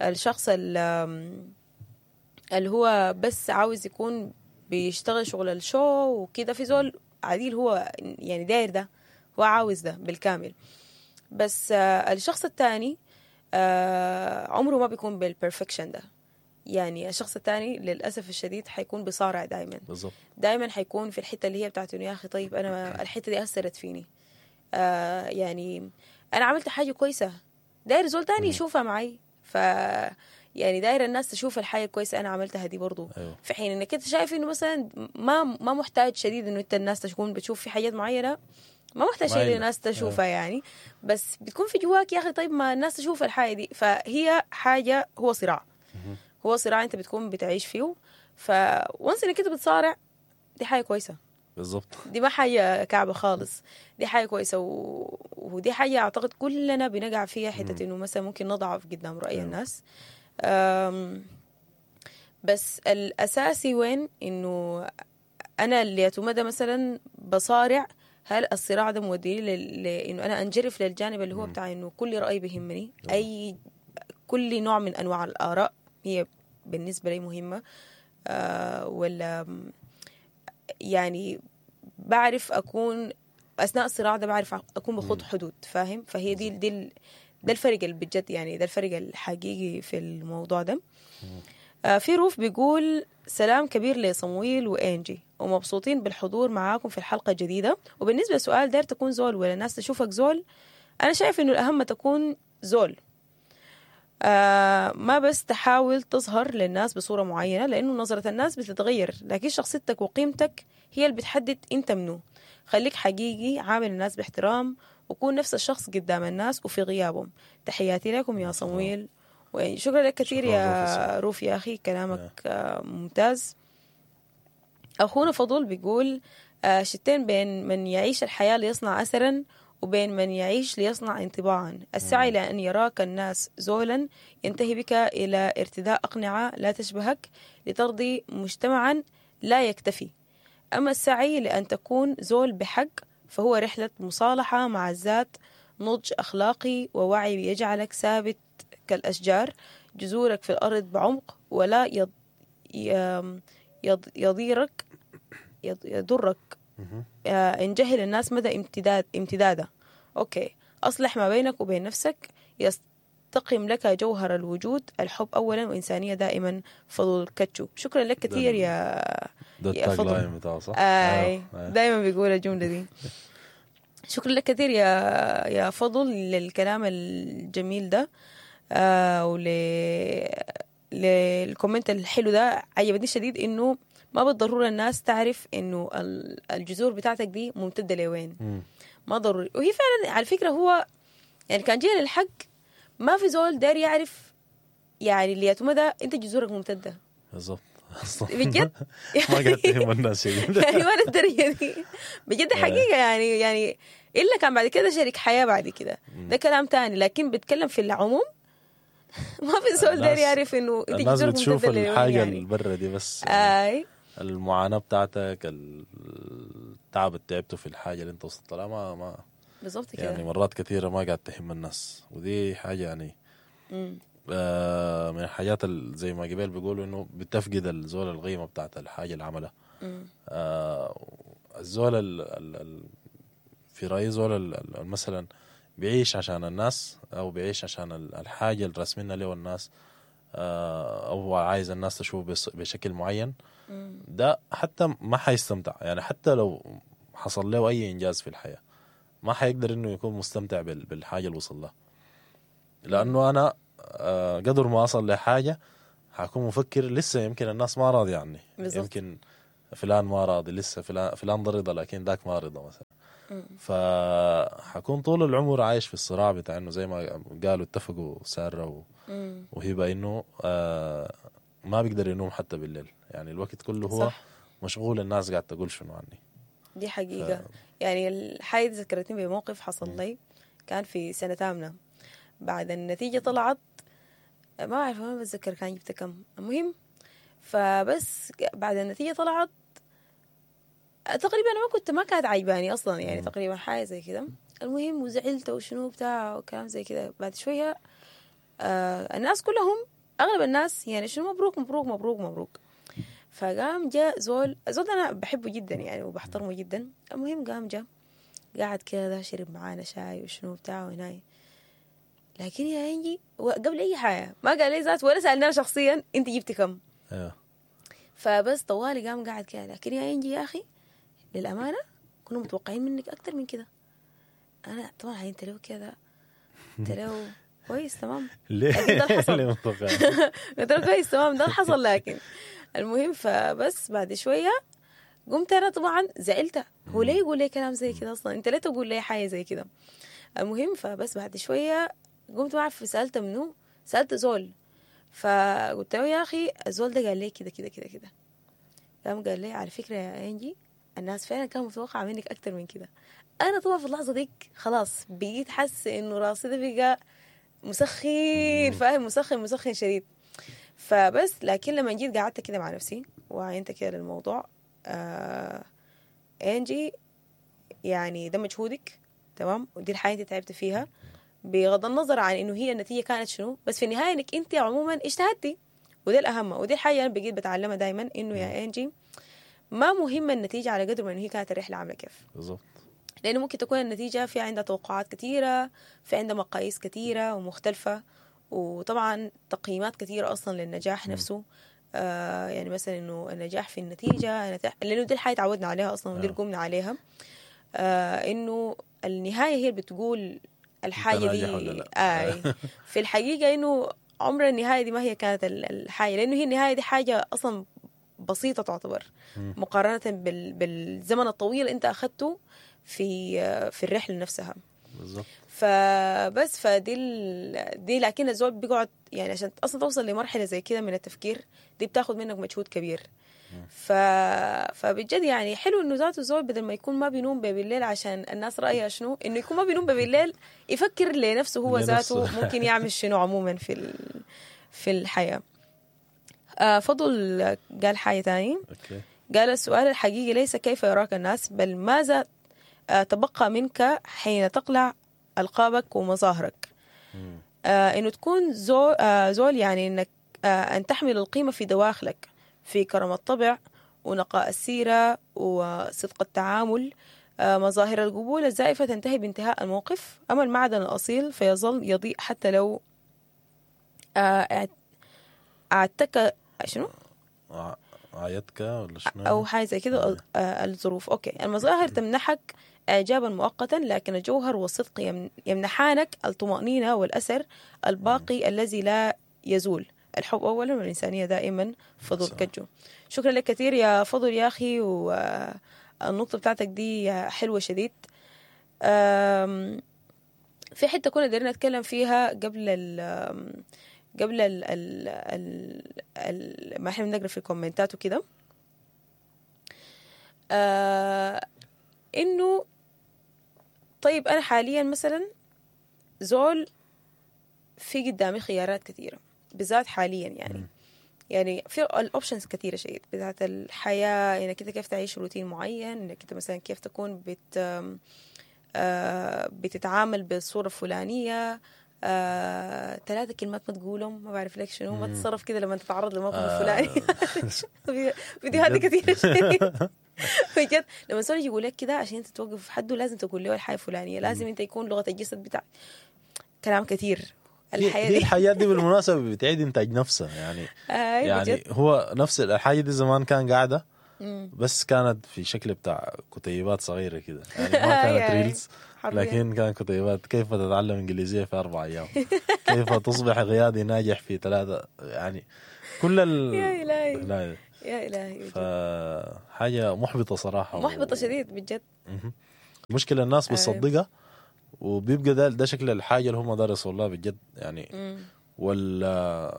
الشخص اللي هو بس عاوز يكون بيشتغل شغل ال show وكده، في زول عديل هو يعني داير ده، هو عاوز ده بالكامل. بس الشخص الثاني عمره ما بيكون بال perfection ده. يعني الشخص الثاني للأسف الشديد حيكون بصارع دايما. بالضبط. دايما حيكون في الحتة اللي هي بتاعت إنه يا أخي طيب أنا الحتة دي أثرت فيني، يعني أنا عملت حاجة كويسة، داير زول تاني يشوفها معي، ف يعني داير الناس تشوف الحاجة الكويسة أنا عملتها دي برضو. أيوه. في حين إنك أنت شايف إنه مثلا ما محتاج شديد إنه أنت الناس تكون بتشوف في حاجات معينة، ما محتاج شيء الناس تشوفها. أيوه. يعني بس بتكون في جواك يا أخي طيب ما الناس تشوف الحاجة دي. فهي حاجة، هو صراع، هو صراع أنت بتكون بتعيش فيه. فونس إنك أنت بتصارع دي حاجة كويسة. بالضبط. دي ما حاجة كعبة خالص، دي حاجة كويسة. ودي حاجة أعتقد كلنا بنقع فيها، حتة إنه مثلا ممكن نضعف قدام رأي الناس. بس الأساسي وين إنه أنا اللي أتمدى مثلا بصارع، هل الصراع ده موديني لإنه أنا أنجرف للجانب اللي هو بتاع إنه كل رأي بيهمني، أي كل نوع من أنواع الآراء هي بالنسبة لي مهمة، ولا يعني بعرف أكون أثناء الصراع ده بعرف أكون بخط حدود، فاهم؟ فهي دي ده الفرق اللي بجد، يعني ده الفرق الحقيقي في الموضوع ده. في روف بيقول سلام كبير لصمويل وإنجي، ومبسوطين بالحضور معاكم في الحلقة الجديدة. وبالنسبة لسؤال داير تكون زول ولا الناس تشوفك زول، أنا شايف إنه الأهم تكون زول، ما بس تحاول تظهر للناس بصورة معينة، لأنه نظرة الناس بتتغير، لكن شخصيتك وقيمتك هي اللي بتحدد أنت منو. خليك حقيقي، عامل الناس باحترام، وكون نفس الشخص قدام الناس وفي غيابهم. تحياتي لكم يا صمويل، وشكرا لك كثير يا روف يا أخي، كلامك ممتاز. أخونا فضل بيقول شتين بين من يعيش الحياة ليصنع أثرا وبين من يعيش ليصنع انطباعا. السعي لأن يراك الناس زولا ينتهي بك إلى ارتداء أقنعة لا تشبهك لترضي مجتمعا لا يكتفي. أما السعي لأن تكون زول بحق فهو رحلة مصالحة مع الذات، نضج أخلاقي ووعي يجعلك ثابت كالأشجار، جذورك في الأرض بعمق ولا يضيرك يضرك إن جهل الناس مدى امتداده. okay، أصلح ما بينك وبين نفسك يستقم لك جوهر الوجود، الحب أولا وإنسانية دائما. فضل كاتشو، شكرا لك كثير يا فضل. آي دائما بيقول الجملة دي. شكرا لك كثير يا فضل للكلام الجميل ده، لل comment الحلو ده. عجبتني شديد إنه ما بالضرورة الناس تعرف إنه الجذور بتاعتك دي ممتدة لوين، ما ضروري. وهي فعلا على فكرة هو يعني كان جينا للحق ما في زول داري يعرف يعني اللي يتمدى أنت جذورك ممتدة. بالضبط. بجد ما قاعد تهم الناس يعني ما الدرجة دي بجد حقيقة، يعني إلا كان بعد كده شريك حياة بعد كده ده كلام تاني، لكن بتكلم في العموم ما في زول داري يعرف إنه أنت الناس بتشوف الحاجة يعني البرة دي بس، يعني المعاناة بتاعتك، التعب اللي تعبته في الحاجة اللي انت وصلت لها ما بالضبط كده. يعني مرات كثيرة ما قاعد تهم الناس، ودي حاجة يعني من الحاجات زي ما قبل بيقولوا انه بتفقد الزول القيمة بتاعت الحاجة اللي عملها. الزول في رأيي زول مثلا بيعيش عشان الناس، او بيعيش عشان الحاجة اللي راسمينها له الناس، او عايز الناس تشوفه بشكل معين، ده حتى ما حيستمتع. يعني حتى لو حصل له اي انجاز في الحياة، ما حيقدر انه يكون مستمتع بالحاجة اللي وصل لها، لانه انا قدر ما اصل لحاجة حكون مفكر لسه يمكن الناس ما راضية عني، بالزبط. يمكن فلان ما راضي لسه، فلان رضا لكن ذاك ما رضا مثلا. فحكون طول العمر عايش في الصراع بتاع انه زي ما قالوا اتفقوا ساره وهبه انه ما بيقدر ينوم حتى بالليل، يعني الوقت كله هو صح. مشغول الناس قاعد تقول شنو عني. دي حقيقة. يعني الحاجة ذكرتني بموقف حصل لي، كان في سنة ثامنة، بعد النتيجة طلعت ما أعرف ما بتذكر كان جبت كم، المهم فبس بعد النتيجة طلعت تقريبا أنا ما كانت عجباني أصلا، يعني تقريبا حاجة زي كده. المهم وزعلت وشنو بتاع وكلام زي كده. بعد شوية الناس كلهم أغلب الناس يعني شنو مبروك مبروك مبروك مبروك. فقام جاء زول أنا بحبه جدا يعني وبحترمه جدا. المهم قام جاء قاعد كده شرب معانا شاي وشنو بتاع وهناي، لكن يا إنجي قبل أي حاجة ما قال لي ذات ولا سألني أنا شخصيا أنت جبتي كم. فبس طوالي قام قاعد كده، لكن يا إنجي يا أخي للأمانة كنا متوقعين منك أكتر من كده. أنا طبعا عينت له كده، قلت له كويس تمام. ليه؟ ده حصل. ليه متوقع؟ قلت له كويس تمام ده حصل. لكن المهم فبس بعد شوية قمت أنا طبعا زعلت، هو ليه يقول لي كلام زي كده أصلا؟ أنت ليه تقول لي حاجة زي كده؟ المهم فبس بعد شوية قمت ما أعرف سألت منو، سألت زول، فقلت له يا أخي الزول ده قال لي كده كده كده كده. قام قال لي على فكرة يا إنجي الناس فعلا كانوا متوقعة منك أكتر من كده. أنا طبعا في اللحظة ديك خلاص بقيت حاسة إنه راسي ده بقى مسخن، فاهم، مسخن مسخن شديد. فبس لكن لما جيت قعدت كده مع نفسي وعينت كده للموضوع، إنجي يعني ده مجهودك تمام، ودي الحياة انت تعبت فيها بغض النظر عن انه هي النتيجة كانت شنو، بس في النهاية انك انت عموما اجتهدتي، وده الأهم. ودي الحاجة انا بقيت بتعلمها دايما، انه يا انجي ما مهم النتيجة على قدر ما انه هي كانت الرحلة عاملة كيف. بالضبط. لأنه ممكن تكون النتيجة في عندها توقعات كثيرة، في عندها مقاييس كثيرة ومختلفة، وطبعا تقييمات كثيرة أصلا للنجاح نفسه. يعني مثلا إنه النجاح في النتيجة، لأنه دي الحاجة تعودنا عليها أصلا ودي اللي قمنا عليها، إنه النهاية هي اللي بتقول الحاجة دي. في الحقيقة إنه عمر النهاية دي ما هي كانت الحاجة، لأنه هي النهاية دي حاجة أصلا بسيطة تعتبر مقارنة بالزمن الطويل أنت أخذته في الرحلة نفسها. بالظبط. فبس فدي دي لكن الزول بيقعد يعني عشان اصلا توصل لمرحلة زي كده من التفكير دي بتاخد منك مجهود كبير. فبجد يعني حلو انه ذاته الزول بدل ما يكون ما بينوم بالليل عشان الناس رايها شنو، انه يكون ما بينوم بالليل يفكر لنفسه هو ذاته ممكن يعمل شنو عموما في الحياة. فضل قال حاجة تاني. قال السؤال الحقيقي ليس كيف يراك الناس، بل ماذا تبقى منك حين تقلع ألقابك ومظاهرك. إنه تكون زول يعني إنك أن تحمل القيمة في دواخلك، في كرم الطبع ونقاء السيرة وصدق التعامل. مظاهر القبول الزائفة تنتهي بانتهاء الموقف، أما المعدن الأصيل فيظل يضيء حتى لو أعتك شنو؟ عيتك ولا شنو؟ أو حاجة زي كده. الظروف. okay. المظاهر تمنحك إعجابا مؤقتا، لكن الجوهر والصدق يمنحانك الطمأنينة والأثر الباقي الذي لا يزول. الحب أولا والإنسانية دائما. فضل كجو، شكرا لك كثير يا فضل يا أخي، والنقطة بتاعتك دي حلوة شديد. في حتة كنا دايرين نتكلم فيها قبل ال قبل ال ال ال ما احنا بنقرا في الكومنتات وكده، انه طيب انا حاليا مثلا زول في قدامي خيارات كثيرة، بالذات حاليا يعني يعني في ال options كثيرة شديد، بالذات الحياة انك انت كيف تعيش روتين معين، انك انت مثلا كيف تكون بتتعامل بالصورة الفلانية، 3 كلمات ما تقولهم، ما بعرف لك شنو، ما تتصرف كده لما تتعرض للموقف الفلاني. فيديوهات كثيرة شديد بجد. لما زول يقول لك كده عشان انت توقف في حده لازم تقول له الحاجة الفلانية، لازم انت يكون لغة الجسد بتاع كلام كثير. الحياة دي الحياة دي بالمناسبة بتعيد انتاج نفسها يعني. يعني هو نفس الحاجة دي زمان كان قاعدة، بس كانت في شكل بتاع كتيبات صغيرة كده، يعني ما كانت reels، لكن كان كتيبات كيف تتعلم انجليزية في 4 ايام، كيف تصبح قيادي ناجح في 3، يعني كل يا الهي يا الهي. فحاجه محبطة صراحة، محبطة شديد بجد. المشكلة الناس بتصدقها وبيبقى ده شكل الحاجة اللي هم درسوا الله بجد يعني. وال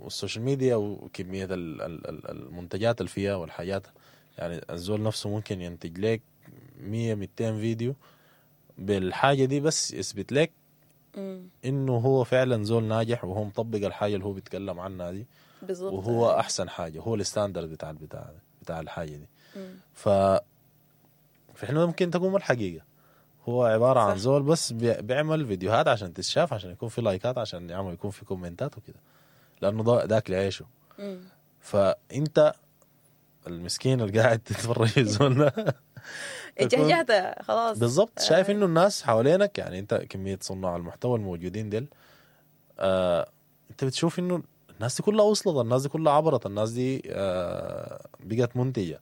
social media وكمية المنتجات اللي فيها والحاجات، يعني الزول نفسه ممكن ينتج لك 100-200 فيديو بالحاجة دي بس يثبت لك انه هو فعلا زول ناجح وهو مطبق الحاجة اللي هو بيتكلم عنها دي بالضبط، وهو احسن حاجة، هو ال standard بتاع بتاع الحاجة دي. فاحنا ممكن تكون الحقيقة هو عبارة عن زول بس بيعمل فيديوهات عشان تتشاف، عشان يكون في لايكات، عشان يعمل يكون في كومنتات وكده، لأنه ده أكل عيشه. فأنت المسكين اللي قاعد تتفرج الزول ده اتجهجهت خلاص بالضبط. شايف إنه الناس حوالينك، يعني أنت كمية صناع المحتوى الموجودين ديل، أنت بتشوف إنه الناس دي كلها وصلت، الناس دي كلها عبرت، الناس دي بقت منتجة،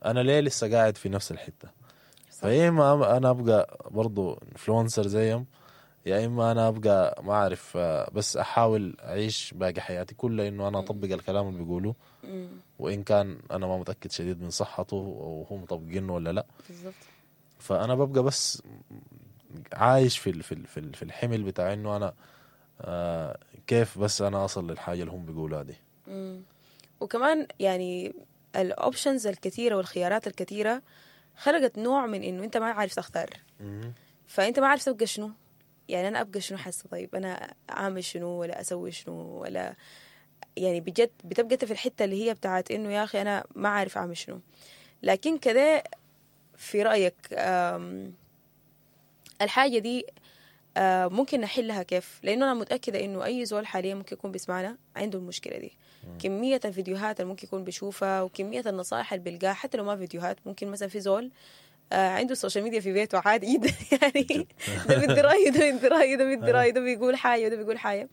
أنا ليه لسه قاعد في نفس الحتة؟ فيا إما أنا أبقى برضو influencer زيهم، يا إما أنا أبقى ما أعرف، بس أحاول أعيش باقي حياتي كلها إنه أنا أطبق الكلام اللي بيقولوه، وإن كان أنا ما متأكد شديد من صحته وهو مطبقينه ولا لا بالضبط. فأنا ببقى بس عايش في في الحمل بتاع إنه أنا كيف بس أنا أصل للحاجة اللي هم بيقولوها دي. وكمان يعني ال options الكثيرة والخيارات الكثيرة خلقت نوع من انه انت ما عارف تختار. فانت ما عارف تبقى شنو، يعني انا ابقى شنو حاسه، طيب انا اعمل شنو ولا اسوي شنو ولا، يعني بجد بتبقى انت في الحتة اللي هي بتاعت انه يا اخي انا ما عارف اعمل شنو. لكن كده في رايك الحاجة دي ممكن نحلها كيف؟ لانه انا متاكدة انه اي زول حاليا ممكن يكون بيسمعنا عنده المشكلة دي. كمية الفيديوهات اللي ممكن يكون بيشوفها وكمية النصائح اللي بيلقاها، حتى لو ما فيديوهات، ممكن مثلا في زول عنده ال social media في بيته عادي جدا يعني ده بيدي راي، ده بيدي راي، ده بيدي راي، ده بيقول حاجة، وده بيقول حاجة.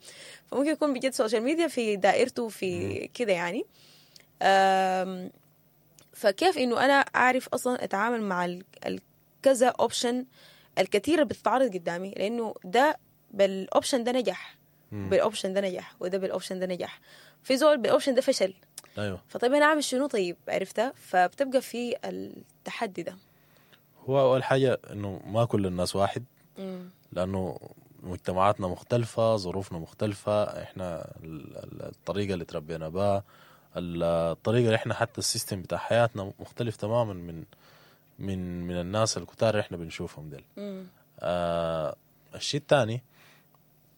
فممكن يكون بجد social media في دائرته في كده يعني. فكيف انه انا اعرف اصلا اتعامل مع الكذا option الكثيرة بتتعرض قدامي؟ لانه ده بال option ده نجح، بال option ده نجح، وده بال option ده نجح، في زول بال option ده فشل. ايوه. فطيب انا اعمل شنو؟ طيب عرفتها؟ فبتبقى في التحدي ده. هو اول حاجة انه ما كل الناس واحد، لانه مجتمعاتنا مختلفة، ظروفنا مختلفة، احنا الطريقة اللي تربينا بها، الطريقة اللي احنا حتى ال system بتاع حياتنا مختلف تماما من من من الناس الكتار اللي احنا بنشوفهم ديل. الشيء الثاني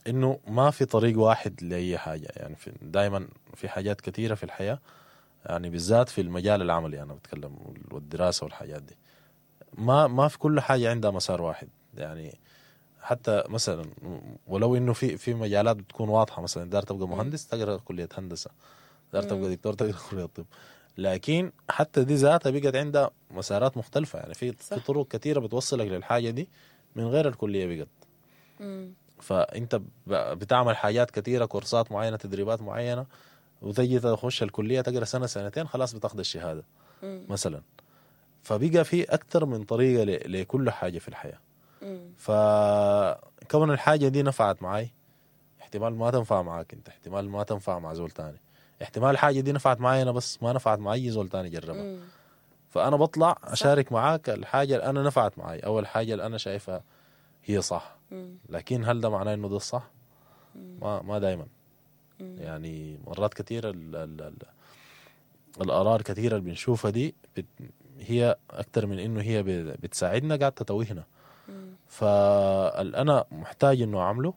انه ما في طريق واحد لاي حاجة، يعني دائما في حاجات كثيرة في الحياة، يعني بالذات في المجال العملي انا بتكلم والدراسة والحاجات دي، ما في كل حاجة عندها مسار واحد. يعني حتى مثلا ولو انه في مجالات بتكون واضحة، مثلا دار تبقى مهندس تقرا كليه هندسة، دار تبقى دكتور تقرا كليه طب، لكن حتى دي ذاتها بقت عندها مسارات مختلفة. يعني في طرق كثيرة بتوصلك للحاجة دي من غير الكلية بقت. فانت بتعمل حاجات كثيرة، كورسات معينة، تدريبات معينة، وتجي تخش الكلية تقرا سنة سنتين خلاص بتاخذ الشهادة مثلا. فبقى في اكثر من طريقه لكل حاجة في الحياة. فكون الحاجة دي نفعت معي احتمال ما تنفع معاك انت، احتمال ما تنفع مع زول تاني، احتمال الحاجة دي نفعت معي انا بس ما نفعت مع اي زول تاني جربها. فانا بطلع اشارك معاك الحاجة اللي انا نفعت معي او الحاجة اللي انا شايفها هي صح. لكن هل ده معناه انه ده الصح؟ ما دايما. يعني مرات كثيرة الآراء كثيرة اللي بنشوفها دي هي اكثر من انه هي بتساعدنا قاعدة تتوهنا. فانا محتاج انه اعمله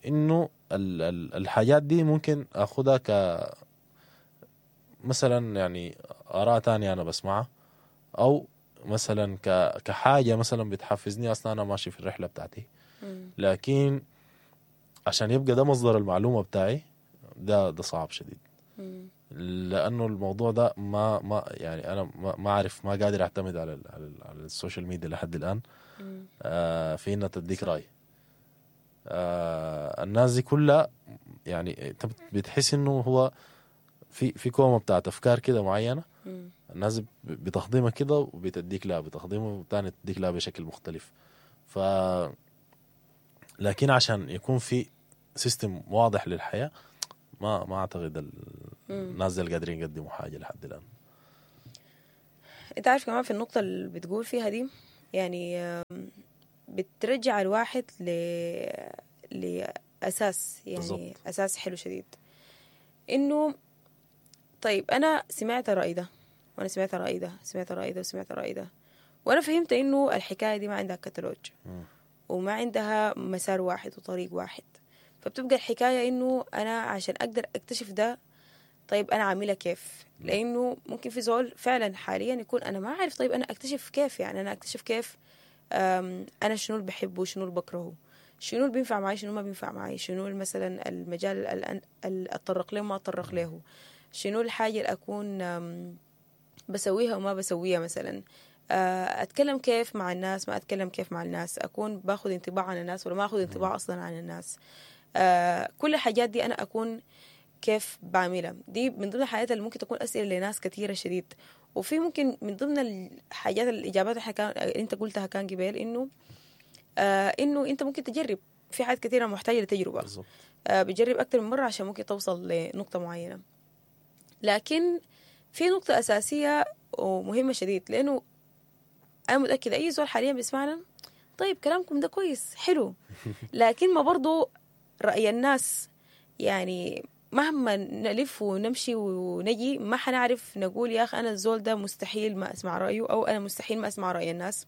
انه الحاجات دي ممكن اخذها ك مثلا يعني اراء تانية انا بسمعها، او مثلا كحاجة مثلا بتحفزني اصلا انا ماشي في الرحلة بتاعتي. لكن عشان يبقى ده مصدر المعلومة بتاعي ده صعب شديد. لانه الموضوع ده ما يعني انا ما اعرف، ما قادر اعتمد على على ال social media لحد الان. في انها تديك راي. الناس دي كلها يعني انت بتحس انه هو في كومة بتاعت افكار كده معينة. الناس بتهضمها كده وبتديك لها، بتهضمها وتاني تديك لها بشكل مختلف. ف لكن عشان يكون في system واضح للحياة ما اعتقد الناس دي قادرين يقدموا حاجة لحد الان. انت عارف كمان في النقطة اللي بتقول فيها دي، يعني بترجع الواحد لأساس، يعني بالزبط. أساس حلو شديد، إنه طيب أنا سمعت الرأي ده، وأنا سمعت الرأي ده، سمعت الرأي ده، وسمعت الرأي ده، وأنا فهمت إنه الحكاية دي ما عندها كتالوج وما عندها مسار واحد وطريق واحد. فبتبقى الحكاية إنه أنا عشان أقدر أكتشف ده، طيب أنا عاملها كيف؟ لأنه ممكن في زول فعلا حاليا يكون أنا ما عارف، طيب أنا أكتشف كيف؟ يعني أنا أكتشف كيف أنا شنو اللي بحبه وشنو اللي بكرهه، شنو اللي بينفع معي شنو ما بينفع معي، شنو مثلا المجال اللي أتطرق له وما أتطرق له، شنو الحاجة اللي أكون بسويها وما بسويها، مثلا أتكلم كيف مع الناس ما أتكلم كيف مع الناس، أكون باخذ انطباع عن الناس ولا ما أخذ انطباع أصلا عن الناس. كل الحاجات دي أنا أكون كيف بعملها. دي من ضمن الحاجات اللي ممكن تكون أسئلة لناس كثيرة شديد. وفي ممكن من ضمن الحاجات الإجابات اللي أنت قلتها كان قبل إنه إنه أنت ممكن تجرب في حاجات كثيرة محتاجة لتجربة. بتجرب أكثر من مرة عشان ممكن توصل لنقطة معينة. لكن في نقطة أساسية ومهمة شديد، لأنه أنا متأكدة أي زول حاليا بيسمعنا، طيب كلامكم ده كويس حلو، لكن ما برضو رأي الناس، يعني مهما نلف ونمشي ونجي ما حنعرف نقول يا أخي أنا الزول ده مستحيل ما أسمع رأيه، أو أنا مستحيل ما أسمع رأي الناس،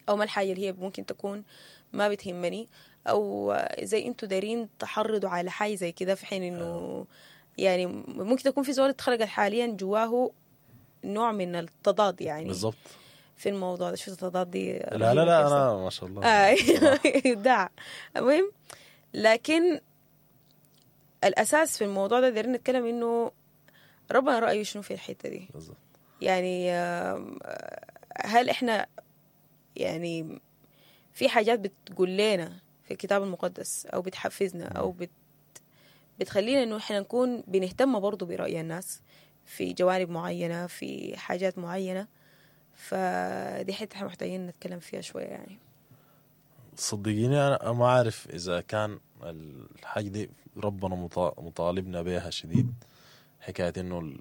أو ما الحاجة اللي هي ممكن تكون ما بتهمني، أو زي أنتوا دارين تحرضوا على حاجة زي كده، في حين إنه يعني ممكن تكون في زول اتخلقت حاليا جواه نوع من التضاد، يعني بالضبط في الموضوع ده. شو التضاد دي؟ لا لا لا أنا ما شاء الله إبداع. المهم، لكن الأساس في الموضوع ده دايرين نتكلم إنه ربنا رأيه شنو في الحتة دي بالضبط. يعني هل إحنا يعني في حاجات بتقول لنا في الكتاب المقدس أو بتحفزنا أو بتخلينا إنه إحنا نكون بنهتم برضو برأي الناس في جوانب معينة، في حاجات معينة؟ فدي حتة إحنا محتاجين نتكلم فيها شوية. يعني صدقيني أنا ما أعرف إذا كان الحاجة دي ربنا مطالبنا بها شديد، حكاية إنه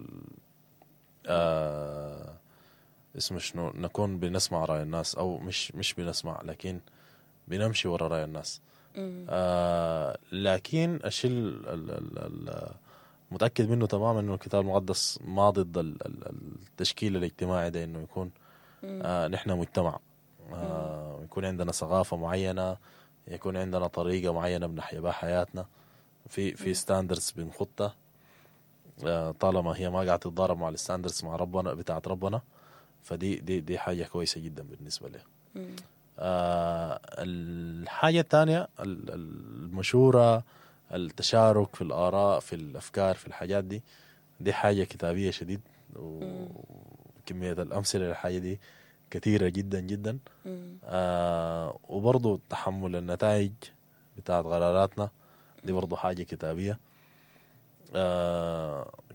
اسمه شنو، نكون بنسمع رأي الناس، أو مش بنسمع لكن بنمشي ورا رأي الناس. لكن الشيء متأكد منه تماما إنه الكتاب المقدس ما ضد التشكيل الاجتماعي ده، إنه يكون نحن مجتمع، يكون عندنا ثقافة معينة، يكون عندنا طريقة معينة بنحيا بها حياتنا، في standards بنخطها، طالما هي ما قاعدة تتضارب مع ال standards مع ربنا بتاعت ربنا، فدي دي دي حاجة كويسة جدا بالنسبة لي. الحاجة الثانية المشورة، التشارك في الآراء، في الأفكار، في الحاجات دي، دي حاجة كتابية شديد، وكمية الأمثلة للحاجة دي كثيرة جدا جدا. وبرضو تحمل النتائج بتاعت قراراتنا دي برضو حاجة كتابية.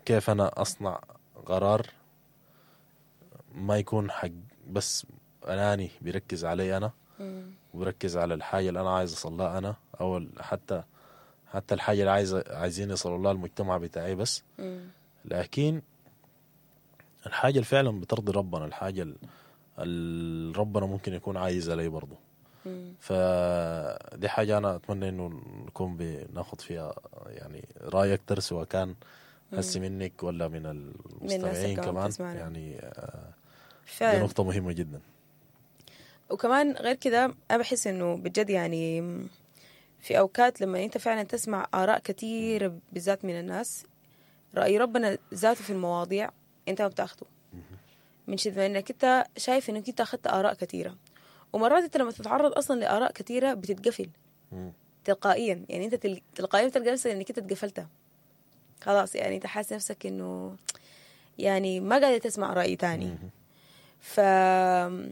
كيف أنا أصنع قرار ما يكون حق بس أناني بيركز علي أنا، وبركز على الحاجة اللي أنا عايز أصلها أنا، أو حتى الحاجة اللي عايزين يصلوا لها المجتمع بتاعي بس، لكن الحاجة اللي فعلا بترضي ربنا، الحاجة اللي ربنا ممكن يكون عايز علي برضو. فدي حاجة أنا أتمنى إنه نكون بناخد فيها يعني رأي أكتر، سواء كان هسي منك ولا من المستمعين كمان، يعني دي نقطة مهمة جدا. وكمان غير كده أنا بحس إنه بجد يعني في أوقات لما أنت فعلا تسمع آراء كتير بالذات من الناس، رأي ربنا ذاته في المواضيع أنت ما بتاخده، من شدة إنك أنت شايف إنك أنت أخذت آراء كتيرة. ومرات أنت لما تتعرض أصلا لآراء كتيرة بتتقفل تلقائيا، يعني أنت تلقائيا بتلقى نفسك إنك أنت اتقفلتها خلاص، يعني أنت حاسس نفسك إنه يعني ما قادر تسمع رأي تاني. فلما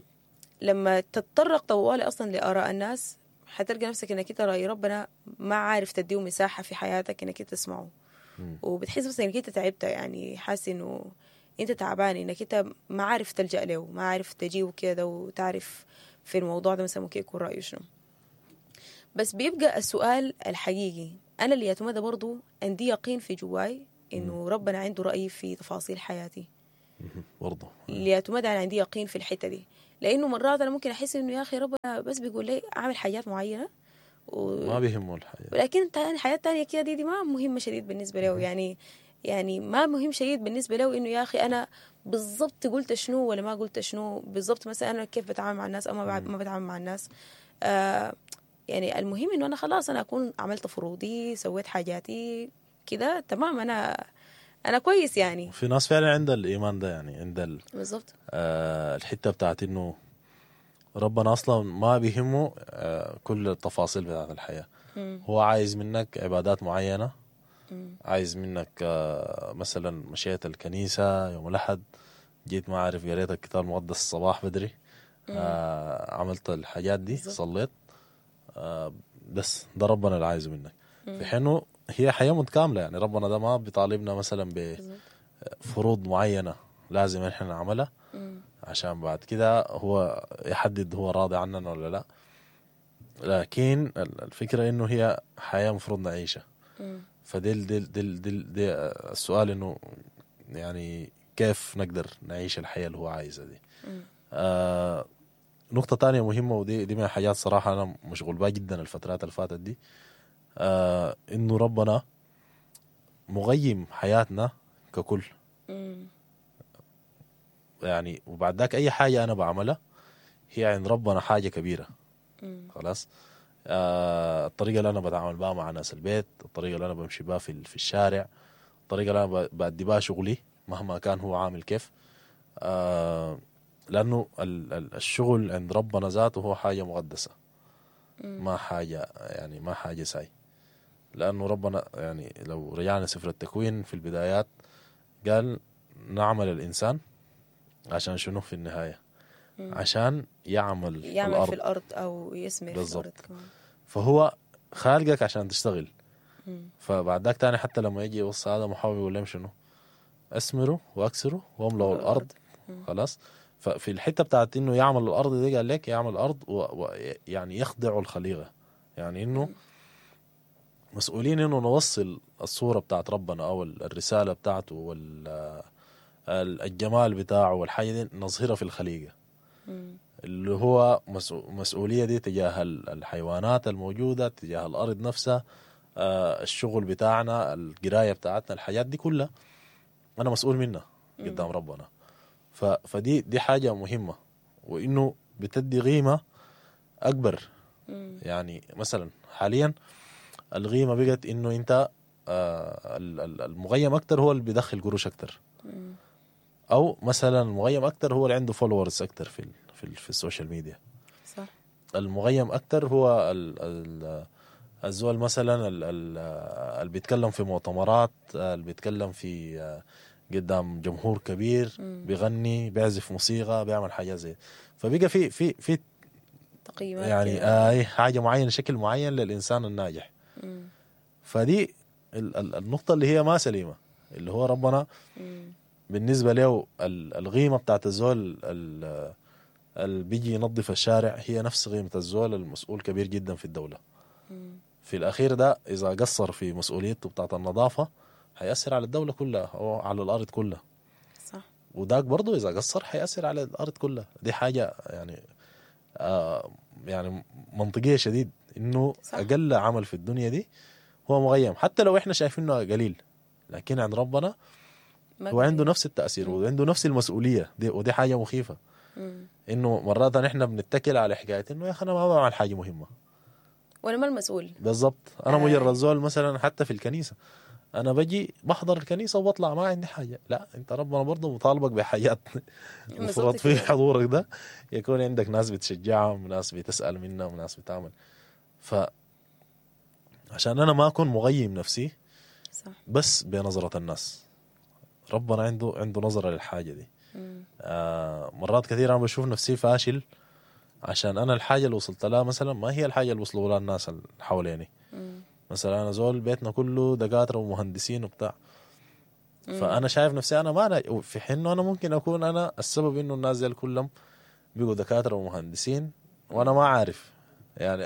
تتطرق طوالي أصلا لآراء الناس حتلقى نفسك إنك أنت رأي ربنا ما عارف تديه مساحة في حياتك إنك أنت تسمعه، وبتحس بس إنك أنت تعبت، يعني حاسس إنه انت تعبان، انك انت ما عارف تلجأ له، ما عارف تجيه كده وتعرف في الموضوع ده مثلا ممكن يكون رأيه شنو. بس بيبقى السؤال الحقيقي، انا اللي يتمدى برضو عندي يقين في جواي انه ربنا عنده رأي في تفاصيل حياتي برضو. اللي انا عندي يقين في الحتة دي، لانه مرات انا ممكن احس انه يا اخي ربنا بس بيقول لي اعمل حاجات معينة ما بيهمه الحياة، ولكن حياة تانية كده دي ما مهمة شديد بالنسبة له. يعني ما مهم شديد بالنسبة له انه يا اخي انا بالضبط قلت شنو ولا ما قلت شنو بالضبط، مثلا انا كيف بتعامل مع الناس او ما بتعامل مع الناس. يعني المهم انه انا خلاص انا اكون عملت فروضي، سويت حاجاتي كده تمام، انا كويس يعني. في ناس فعلا عندها الايمان ده، يعني عندها بالضبط الحتة بتاعت انه ربنا اصلا ما بيهمه كل التفاصيل بتاعت الحياة. هو عايز منك عبادات معينة، عايز منك مثلا مشيت الكنيسة يوم الاحد، جيت ما عارف قريت الكتاب المقدس الصباح بدري، عملت الحاجات دي، صليت، بس ده ربنا اللي عايزه منك. في حينه هي حياة متكاملة، يعني ربنا ده ما بيطالبنا مثلا بفروض معينة لازم احنا نعملها عشان بعد كده هو يحدد هو راضي عننا ولا لا، لكن الفكرة انه هي حياة مفروض نعيشها. فدي دي دي دي, دي السؤال انه يعني كيف نقدر نعيش الحياة اللي هو عايزها دي. نقطة تانية مهمة، ودي دي من الحاجات صراحة أنا مشغول بها جدا الفترات اللي فاتت دي، إنه ربنا مغيم حياتنا ككل. يعني وبعد ذاك أي حاجة أنا بعملها هي عند ربنا حاجة كبيرة. خلاص، الطريقة اللي أنا بتعامل بها مع ناس البيت، الطريقة اللي أنا بمشي بها في الشارع، الطريقة اللي أنا بأدي بها شغلي مهما كان هو عامل كيف، لأنه الشغل عند ربنا ذاته هو حاجة مقدسة، ما حاجة يعني ما حاجة ساي. لأنه ربنا يعني لو رجعنا سفر التكوين في البدايات قال نعمل الإنسان عشان شنو في النهاية؟ عشان يعمل في الأرض أو يسمر في الأرض كمان. فهو خالقك عشان تشتغل. فبعد ذاك تاني حتى لما يجي يوصي هذا محاول يقول لهم شنو؟ أسمروا وأكسروا واملأوا الأرض. خلاص، ففي الحتة بتاعت انه يعمل الارض دي قال لك يعمل الارض ويعني يخضع الخليقة، يعني انه مسؤولين انه نوصل الصورة بتاعت ربنا او الرسالة بتاعته والجمال بتاعه والحاجة دي نظهرها في الخليقة، اللي هو مسؤولية دي تجاه الحيوانات الموجودة، تجاه الارض نفسها، الشغل بتاعنا، القراية بتاعتنا، الحاجات دي كلها انا مسؤول منها قدام ربنا. فدي دي حاجة مهمة، وإنه بتدي قيمة أكبر. يعني مثلا حاليا القيمة بقت إنه أنت المغيم أكتر هو اللي بيدخل قروش أكتر، أو مثلا المغيم أكتر هو اللي عنده followers أكتر في في, في ال social media. صح. المغيم أكتر هو الزول مثلا اللي بيتكلم في مؤتمرات، اللي بيتكلم في قدام جمهور كبير، بيغني، بيعزف موسيقى، بيعمل حاجة زي. فبقى في في في تقييمات يعني حاجة معينة، شكل معين للإنسان الناجح. فدي النقطة اللي هي ما سليمة، اللي هو ربنا بالنسبة له القيمة بتاعت الزول اللي بيجي ينظف الشارع هي نفس قيمة الزول المسؤول كبير جدا في الدولة. في الأخير ده إذا قصر في مسؤوليته بتاعت النظافة هيأثر على الدولة كلها أو على الأرض كلها. صح. وداك برضو إذا قصر هيأثر على الأرض كلها. دي حاجة يعني يعني منطقية شديد، إنه صح. أقل عمل في الدنيا دي هو مغيم، حتى لو إحنا شايفينه قليل، لكن عند ربنا هو عنده نفس التأثير وعنده نفس المسؤولية دي، ودي حاجة مخيفة. إنه مرات إحنا بنتكل على حكاية إنه يا أخي أنا ما بعمل حاجة مهمة وأنا ما المسؤول بالضبط، أنا مجرد زول مثلا حتى في الكنيسة أنا بجي بحضر الكنيسة وبطلع ما عندي حاجة. لا، أنت ربنا برضه مطالبك بحاجات المفروض في حضورك ده يكون عندك ناس بتشجعهم، ناس بتسأل منهم، ناس بتعمل. ف عشان أنا ما أكون مغيم نفسي صح. بس بنظرة الناس، ربنا عنده نظرة للحاجة دي. مرات كثير أنا بشوف نفسي فاشل عشان أنا الحاجة اللي وصلت لها مثلا ما هي الحاجة اللي وصلوا لها الناس اللي حواليني. مثلا أنا زول بيتنا كله دكاترة ومهندسين وبتاع، فانا شايف نفسي انا ما ناجح، في حين انه انا ممكن اكون انا السبب انه الناس ديل كلهم بقوا دكاترة ومهندسين وانا ما عارف. يعني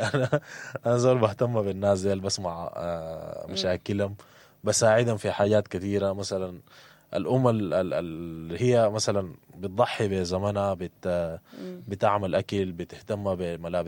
انا زول بهتم بالناس ديل، بسمع مشاكلهم، بساعدهم في حاجات كثيرة. مثلا الام اللي هي مثلا بتضحي بزمنها، بتعمل اكل، بتهتم بملابس.